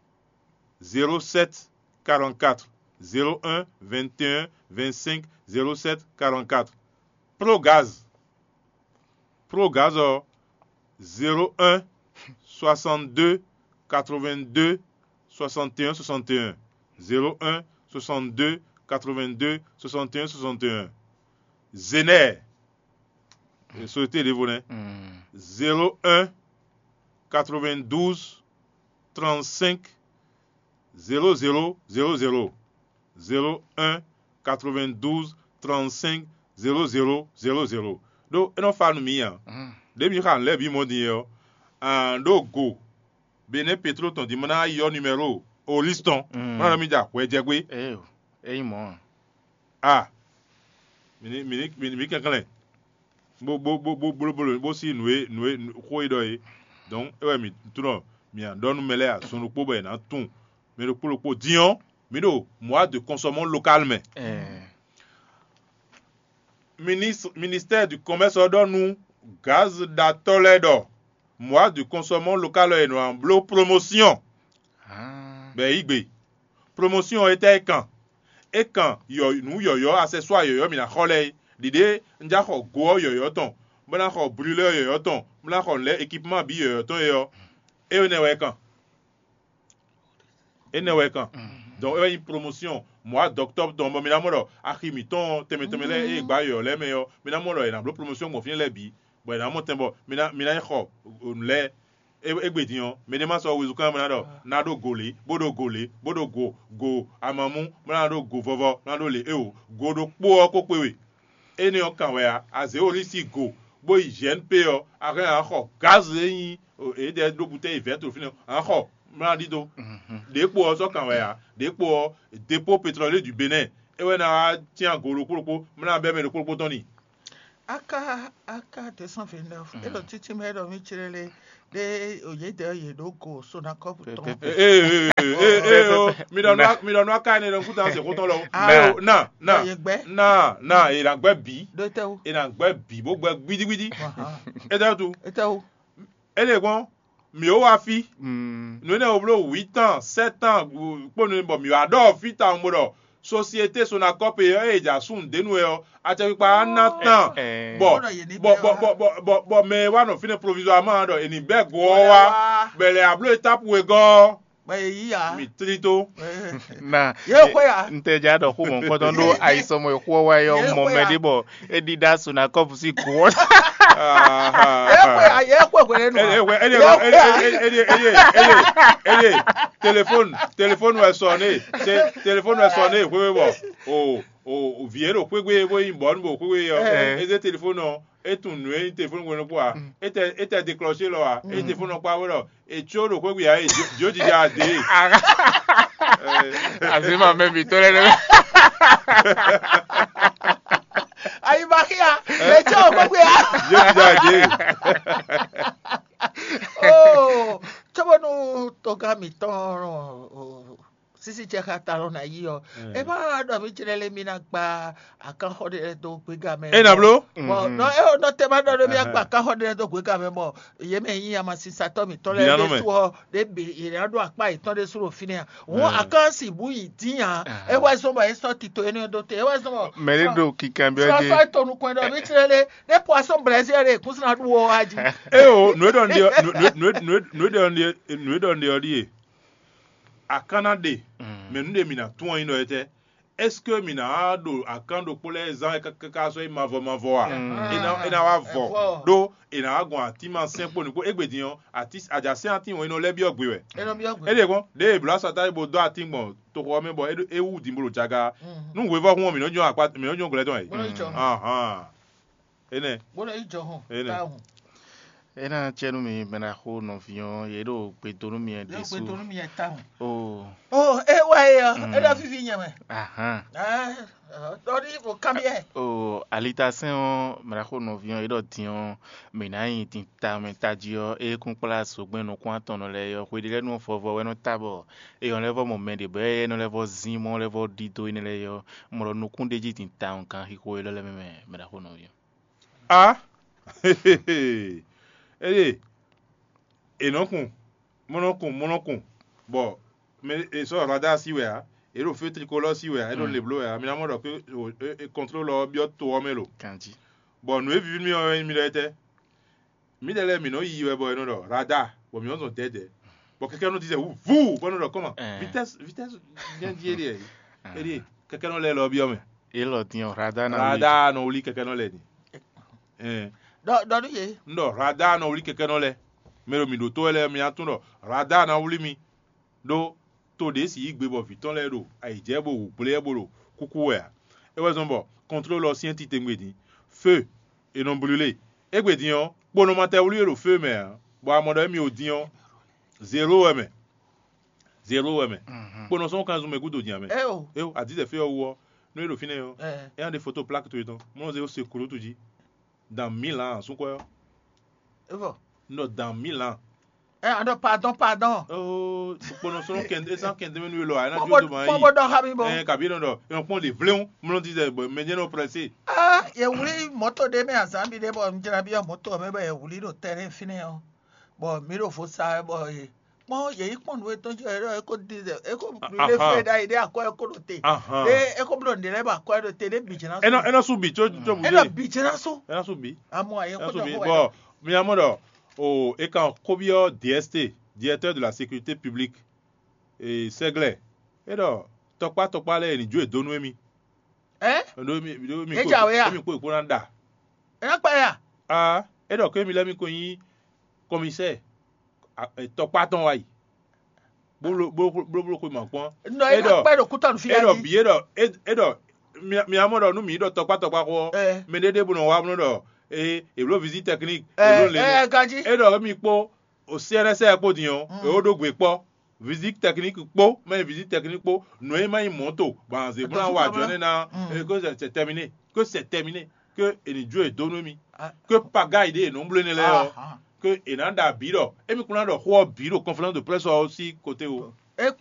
zéro sept, quarante-quatre. Zéro un, vingt et un, vingt-cinq, zéro sept, quarante-quatre. Progaz. Progaz ɔ́, zéro un, soixante-deux, quatre-vingt-deux, soixante et un, soixante et un. Zéro un, soixante-deux, quatre-vingt-deux, soixante et un, soixante et un. Zener. Sóté ɖěvo nɛ́. Zéro un, quatre-vingt-douze, trente-cinq, zéro zéro, zéro zéro. Zéro un, quatre-vingt-douze, trente-cinq, zéro zéro, zéro zéro. Ɖó é nɔ fa nú mǐ ǎ. Ɖěbǔ xa nǔ lɛ́ɛ bǐ mɔ din é ɔ́, an ɖó go Benɛ́ Petro tɔn din ma ná yi ɔ́ numéro Oris tɔn, ma ná ɖɔ mì jɛ akwɛ́ jɛ gbé. Ée o, é nyí mɔ̌ ǎ. A mǐ ní mǐ ní mǐ ní mǐ kɛnklɛ́n bó bó bó bó bló bló bó sí nǔ e nǔ e xó e ɖɔ é. Donc é wɛ mǐ tunɔ mǐ ná ɖɔ nú mɛ lɛ́ɛ azɔn ɖokpó bɔ è nǎ tunwun mɛ ɖokpó ɖokpó. Din ɔ́, mǐ ɖo mois de consommation locale mɛ. Ministre ministère du commerce ɔ́ ɖɔ nú gaz ɖatɔ́ lɛ́ɛ ɖɔ mois de consommation locale ɔ́ è nɔ bló promotion bɔ è yí gbe. Promotion ɔ́ étɛ́ é kan? É kan yɔ nǔ yɔ̌yɔ́, accessoire yɔ̌yɔ́ mǐ ná xɔ lɛ́ɛ é. Ɖiɖě un já xɔ go ɔ́ yɔ̌yɔ́ tɔn, bó ná xɔ brûleur yɔ̌yɔ́ tɔn, bó ná xɔ nǔ lɛ́ɛ équipement bǐ yɔ̌yɔ́ tɔn é ɔ́, énɛ́ wɛ é kan. Énɛ́ wɛ é kan. Donc é wɛ nyí promotion mois d'octobre tɔn bɔ mi ná mɔ ɖɔ axi mǐtɔn tɛnmɛ tɛnmɛ lɛ́ɛ e gbǎ yɔ̌yɔ́ lɛ́ɛ mɛ ɔ́, mi ná mɔ ɖɔ è nǎ bló promotion gbɔn fínɛ́ lɛ́ɛ bǐ, bɔ è nǎ mɔ tɛn bɔ mi ná mi ná yi xɔ nǔ lɛ́ɛ. Égbé din ɔ́, mɛ ɖé ma sɔ́ wezun kán bó ná ɖɔ ná ɖó go lě, bó ɖo go lě, bó ɖo go go amamú, bó ná ɖó go vɔvɔ, bó ná ɖó lě éwo. Go ɖokpó ɔ́ ko kpé we. Énɛ́ ɔ́ kan wɛ ǎ. A zě wo lí sín go, bó yi J N P ɔ́, a hɛn a nǎ xɔ gǎz e nyí èédɛɛ ɖó butɛ́yi vɛ̌ɛn to fínɛ́ ɔ́, a nǎ xɔ, bó ná ɖidó. Ɖěkpo ɔ́ sɔ́ kan wɛ ǎ. Ɖěkpo ɔ́, dépôt pétrolier du Bénin, é wɛ ná wá cyán go ɖokpó ɖokpó, bó ná bɛ́ mɛ ɖokpó ɖokpó tɔn n'i. Aka aka deux cent vingt-neuf, é ɖo títí mɛ ɖɔ mí clé lé ɖé, òye dɛ yě ɖó go Sonacop tɔn. Ee, ee, ee, ee, o, mi ɖɔ nú mi ɖɔ nú aka ne ɖɔ kúta se kútɔn lɔ. Ah, na na yě gbɛ. Na na yě na gbɛ bǐ. Ɖo tɛ o. Yě na gbɛ bǐ bó gbɛ gbidigbidi. Ahan. É tɛ tu. É tɛ o. É lè gbɔn, mǐ ó wá fí. Mm. Nǔ énɛ́ wo bló huit ans, sept ans kpó nǔ bɔ mǐ wá ɖɔ fí tawun bó ɖɔ société Sonacop e ɔ́, e ja sun dě nu wɛ ɔ́, acɛkpikpa á ná tán. Ɛɛ. Bɔ Bó ɖɔ yě ní bɔ bɛ́ bɔ wá. Bɔ bɔ bɔ bɔ mɛ e wá nɔ fínɛ́ provisoirement ɖɔ è nǐ bɛ́ go ɔ́ wá, bɔ è lɛ abló étape wegɔ́ ɔ́, Bɔ yě yí ya. Mǐ tlí tó. Na Yě xwe ya. N tɛ ja ɖɔ xó mɔ̌hunkɔtɔn ɖó ayisɔmɔ e xó ɔ́ wá é ɔ́, Yě mɔ xwe mɛ ya. Ɖé bɔ é ɖíɖá Sonacop sín go ɔ́. Yě xwe ya. Yě xwe hwenu. Ele ele ele ele ele ele ele ele ele telefone telefone wɛ sɔne se telefone wɛ sɔne hwebe bɔ o o o vi e ɖo xwegbe bó yi bɔ nu bo xwegbe yɔ. Ɛɛ. Eze telefone ɔ e tun nu e nyí telefone wɛ nukú a e tɛ e tɛ déclenché lɔ a e telefone ɔ kpa wɛ lɔ e tso ɖo xwegbe a e dio jija de. Azima mɛ mi tɔ lɛ nɛ. Ayi ma xia le tso xwegbe a. Dio jija de. Oh, tso bɔ nu tɔga mi tɔn. Sisi ce xa ta lɔ na yi ɔ. E ma ɖɔ mi jlɛ le mi na gba akanxɔ ɖe lɛ do gbega mɛ. E na blo. Bɔn nɔ e o nɔ te ma ɖɔ ɖo mi agba akanxɔ ɖe lɛ do gbega mɛ bɔ ye mɛ yi amasinsatɔ mi tɔ lɛ ɖe su ɔ ɖe be ye na ɖo akpa yetɔn ɖe su ɖo fi nɛ a. Wọn akan si bu yi din a e wɛ zɔn bɔ e sɔ tito ene do te e wɛ zɔn bɔ. Mɛ ɖe ɖo kikan bi ɔ sɔ je. Sɔ to nukun ɖɔ mi jlɛ le ne poisson brésil ɖe kun sina ɖu wɔ wa ji. E o nu e ɖɔ n ɖe nu e ɖɔ n ɖe nu e ɖɔ n ɖe ɔ ɖie. Akan ná ɖe mɛ nǔ ɖe mǐ ná tunwun ɔ́ nyí ɖɔ étɛ́? Est-ce que mǐ ná wá ɖo akan ɖokpó lɛ́ɛ zán káká sɔ́ nyí mavɔ mavɔ a? É ná é ná wá vɔ ɖó è nǎ wá gɔn atínma sɛ́n kpó nǔkpó égbé din ɔ́, atí ajǎsɛ́n atín wɔ̌n é nɔ lɛ́ byɔ́ gbe wɛ. É nɔ byɔ́ gbe. É ɖe kpɔ́n ɖěe è blǒ asatá bo dó atín gbɔn toxo ɔ́ mɛ bɔ é wú din bó ɖo jaga. Nú hwevɔ́hún ɔ́, mǐ nɔ́ nyɔ́ akpá mǐ nɔ́ nyɔ́ glɛ́ tɔn ɛ. Bó nɔ́ yi jɔ. Ahán. Énɛ́. Bó nɔ́ yi jɔ hɔn. Énɛ́. Táhùn. É ná cɛ nú mi mɛ ɖaxó nɔví ɔ́, yě ɖo gbe dó nú mi wɛ Yě ɖésú. Gbe dó nú mi wɛ táhùn. Oo. Oh, é wá é ɔ́, é ɖɔ fífí nyɛ mɛ. Ahán. Ɖɔ ɖi o kanbyɛ. Oo, alitasɛn ɔ́, mɛ ɖaxó nɔví ɔ́, yě ɖɔ din ɔ́, mǐ ná nyi din tamɛ tají ɔ́, é kún kplá zogbɛ́n nukún atɔnnɔ lɛ́ɛ ɔ́, xwe ɖé lɛ́ɛ nú vɔvɔ wɛ nɔ ta bɔ é nɔ lɛ́ vɔ mɔ mɛ ɖě bɔ é nɔ lɛ́ vɔ zín mɔ lɛ́ vɔ ɖidó énɛ́ lɛ́ɛ ɔ́, mɔ ɖɔ nukún ɖé jí din tawun kan xixo élɔ́ lɛ́ɛ mɛ mɛ, mɛ ɖaxó nɔví ɔ́. A Eye è nɔ́ kun, mɔ nɔ́ kun, mɔ nɔ́ kun, bɔ mɛ è sɔ́ radar sí wɛ ǎ, è ɖo feu tricolore sí wɛ ǎ, è ɖo le bló wɛ ǎ, mi ná mɔ ɖɔ pé contrôle ɔ́ byɔ́ to ɔ́ mɛ lo. Ganjí. Bɔ nǔ e víví nú mì ɔ́ wɛ nyí mi ɖɔ étɛ́? Mǐdɛɛ lɛ́ɛ mǐ nɔ yiyi wɛ bɔ è nɔ ɖɔ radar, bɔ mǐ nɔ zɔn dɛ̌dɛ̌, bɔ kɛkɛ́nɔ ɖi zɛ wú vú, bɔ é nɔ ɖɔ kɔ́ma vitesse vitesse jɛ́n jí é ɖe é ɖe kɛkɛ́nɔ lɛ́ɛ lɔ byɔ́ mɛ. Élɔ́ din ɔ́, radar ná wlí. Radar nɔ wlí kɛkɛ́nɔ lɛ́ɛ din. Ɛn. Ɖɔ ɖɔ nú yě. Un ɖɔ radar nɔ wlí kɛkɛ́nɔ lɛ́ɛ. Mɛ ɖo mǐ ɖótó wɛ lɛ́ɛ mi ná tunwun ɖɔ radar ná wlí mi. Ɖó to ɖě si yí gbe bɔ vǐ tɔn lɛ́ɛ ɖo ayǐjɛ bó hu gblé wɛ bó ɖo kúkú wɛ ǎ. É wɛ zɔ́n bɔ contrôle ɔ́ syɛ́n titewungbe din. Feu, è nɔ blú lé. Égbé din ɔ́, kponɔmatɛwlí e ɖo feu mɛ ǎ, bɔ a mɔ ɖɔ émí o din ɔ́, zéro wɛ mɛ. Zéro wɛ mɛ. Kponɔ sɔn kan zun mɛ gúdo din ǎ mɛ. Eo. Eo, adizɛ fé ɔ́ wú ɔ́, nú é ɖo fínɛ́ ɔ́, é ná ɖe foto plak towe tɔn, mɔ nɔ zé ó se kúlútu jí. Dan mǐ lan súnkwɛ́ ɔ́. Evɔ. Un ɖɔ dan mǐ lan. Ɛ a ɖɔ pardon pardon. Oo, kponɔ sɔn kɛn é sán kɛn dɛmɛ nú é lɔ ɛ ná jó do ma yi. Kpɔ́n bó ɖɔ xá mi bɔ. Ɛ kabi nɔ ɖɔ, ɛ kpɔn ɖe vléwu, mlɔ ti zɛ bɔ mɛ jɛ nɔ prɛsé. Ah, yɛ wuli mɔto ɖe mɛ azan bi ɖe bɔ n jra bi mɔto mɛ bɔ yɛ wuli ɖo tɛnɛ fínɛ ɔ. Bɔ mi ɖo vo sa bɔ ye kpɔn yɛ yi kpɔn nú etɔn jɛ ɖɔ eko di zɛ eko le fɛ ɖa yi ɖe akɔ eko ɖo te. Ɖe eko blɔ nɖe lɛ bɔ akɔ ɖo te ɖe bi jɛ na. Ɛnɔ ɛnɔ su bi tso tso bu. Ɛnɔ bi jɛ na su. Ɛnɔ su bi. Amɔ ayɛ ko dɔ ko wɛ. Bɔ mi amɔ ɖɔ o e kan kobiɔ D S T, directeur de la sécurité publique, sɛglɛ, e ɖɔ tɔkpá tɔkpá lɛ ni jó e dó nú emi. Ɛ? Ɖó mi ɖó mi Ɛ kpo dza wɛ ya? Emi kpo ìkpó ná ɖa. Ɛ ná kpa ya? Ah, e ɖɔ ké mi lɛ mi ko nyí commissaire. tɔkpá tɔn wá yi bó bló xwe mɔ̌ kpɔ́n. Nɔ é ɖɔ kpɛ ɖo kútɔnu fi é ɖɔ bǐ é ɖɔ é ɖɔ mia mɔ ɖɔ nú mǐ ɖɔ tɔkpá tɔkpá xó ɔ́, mɛɖé ɖěbǔ nɔ wá bló ɖɔ é è bló visite technique, è bló lě ɛ ganjí. É ɖɔ émí kpó o C N S R kpó din ɔ́, è ó ɖó gbe kpɔ́ visite technique kpó mɛ visite technique kpó nǔ e ma nyí mɔ̌to bɔ azě bó ná wa jɔ nɛ́ ná que c'est terminé, que c'est terminé, que è ní jó è dó nú émí, que pagayi ɖé è nɔ bló énɛ́ lɛ́ɛ ɔ́, que è nǎ ɖa bǐ ɖɔ émí kún ná ɖɔ xó ɔ́ bǐ ɖo conférence de presse ɔ́ sín côté o. É kpó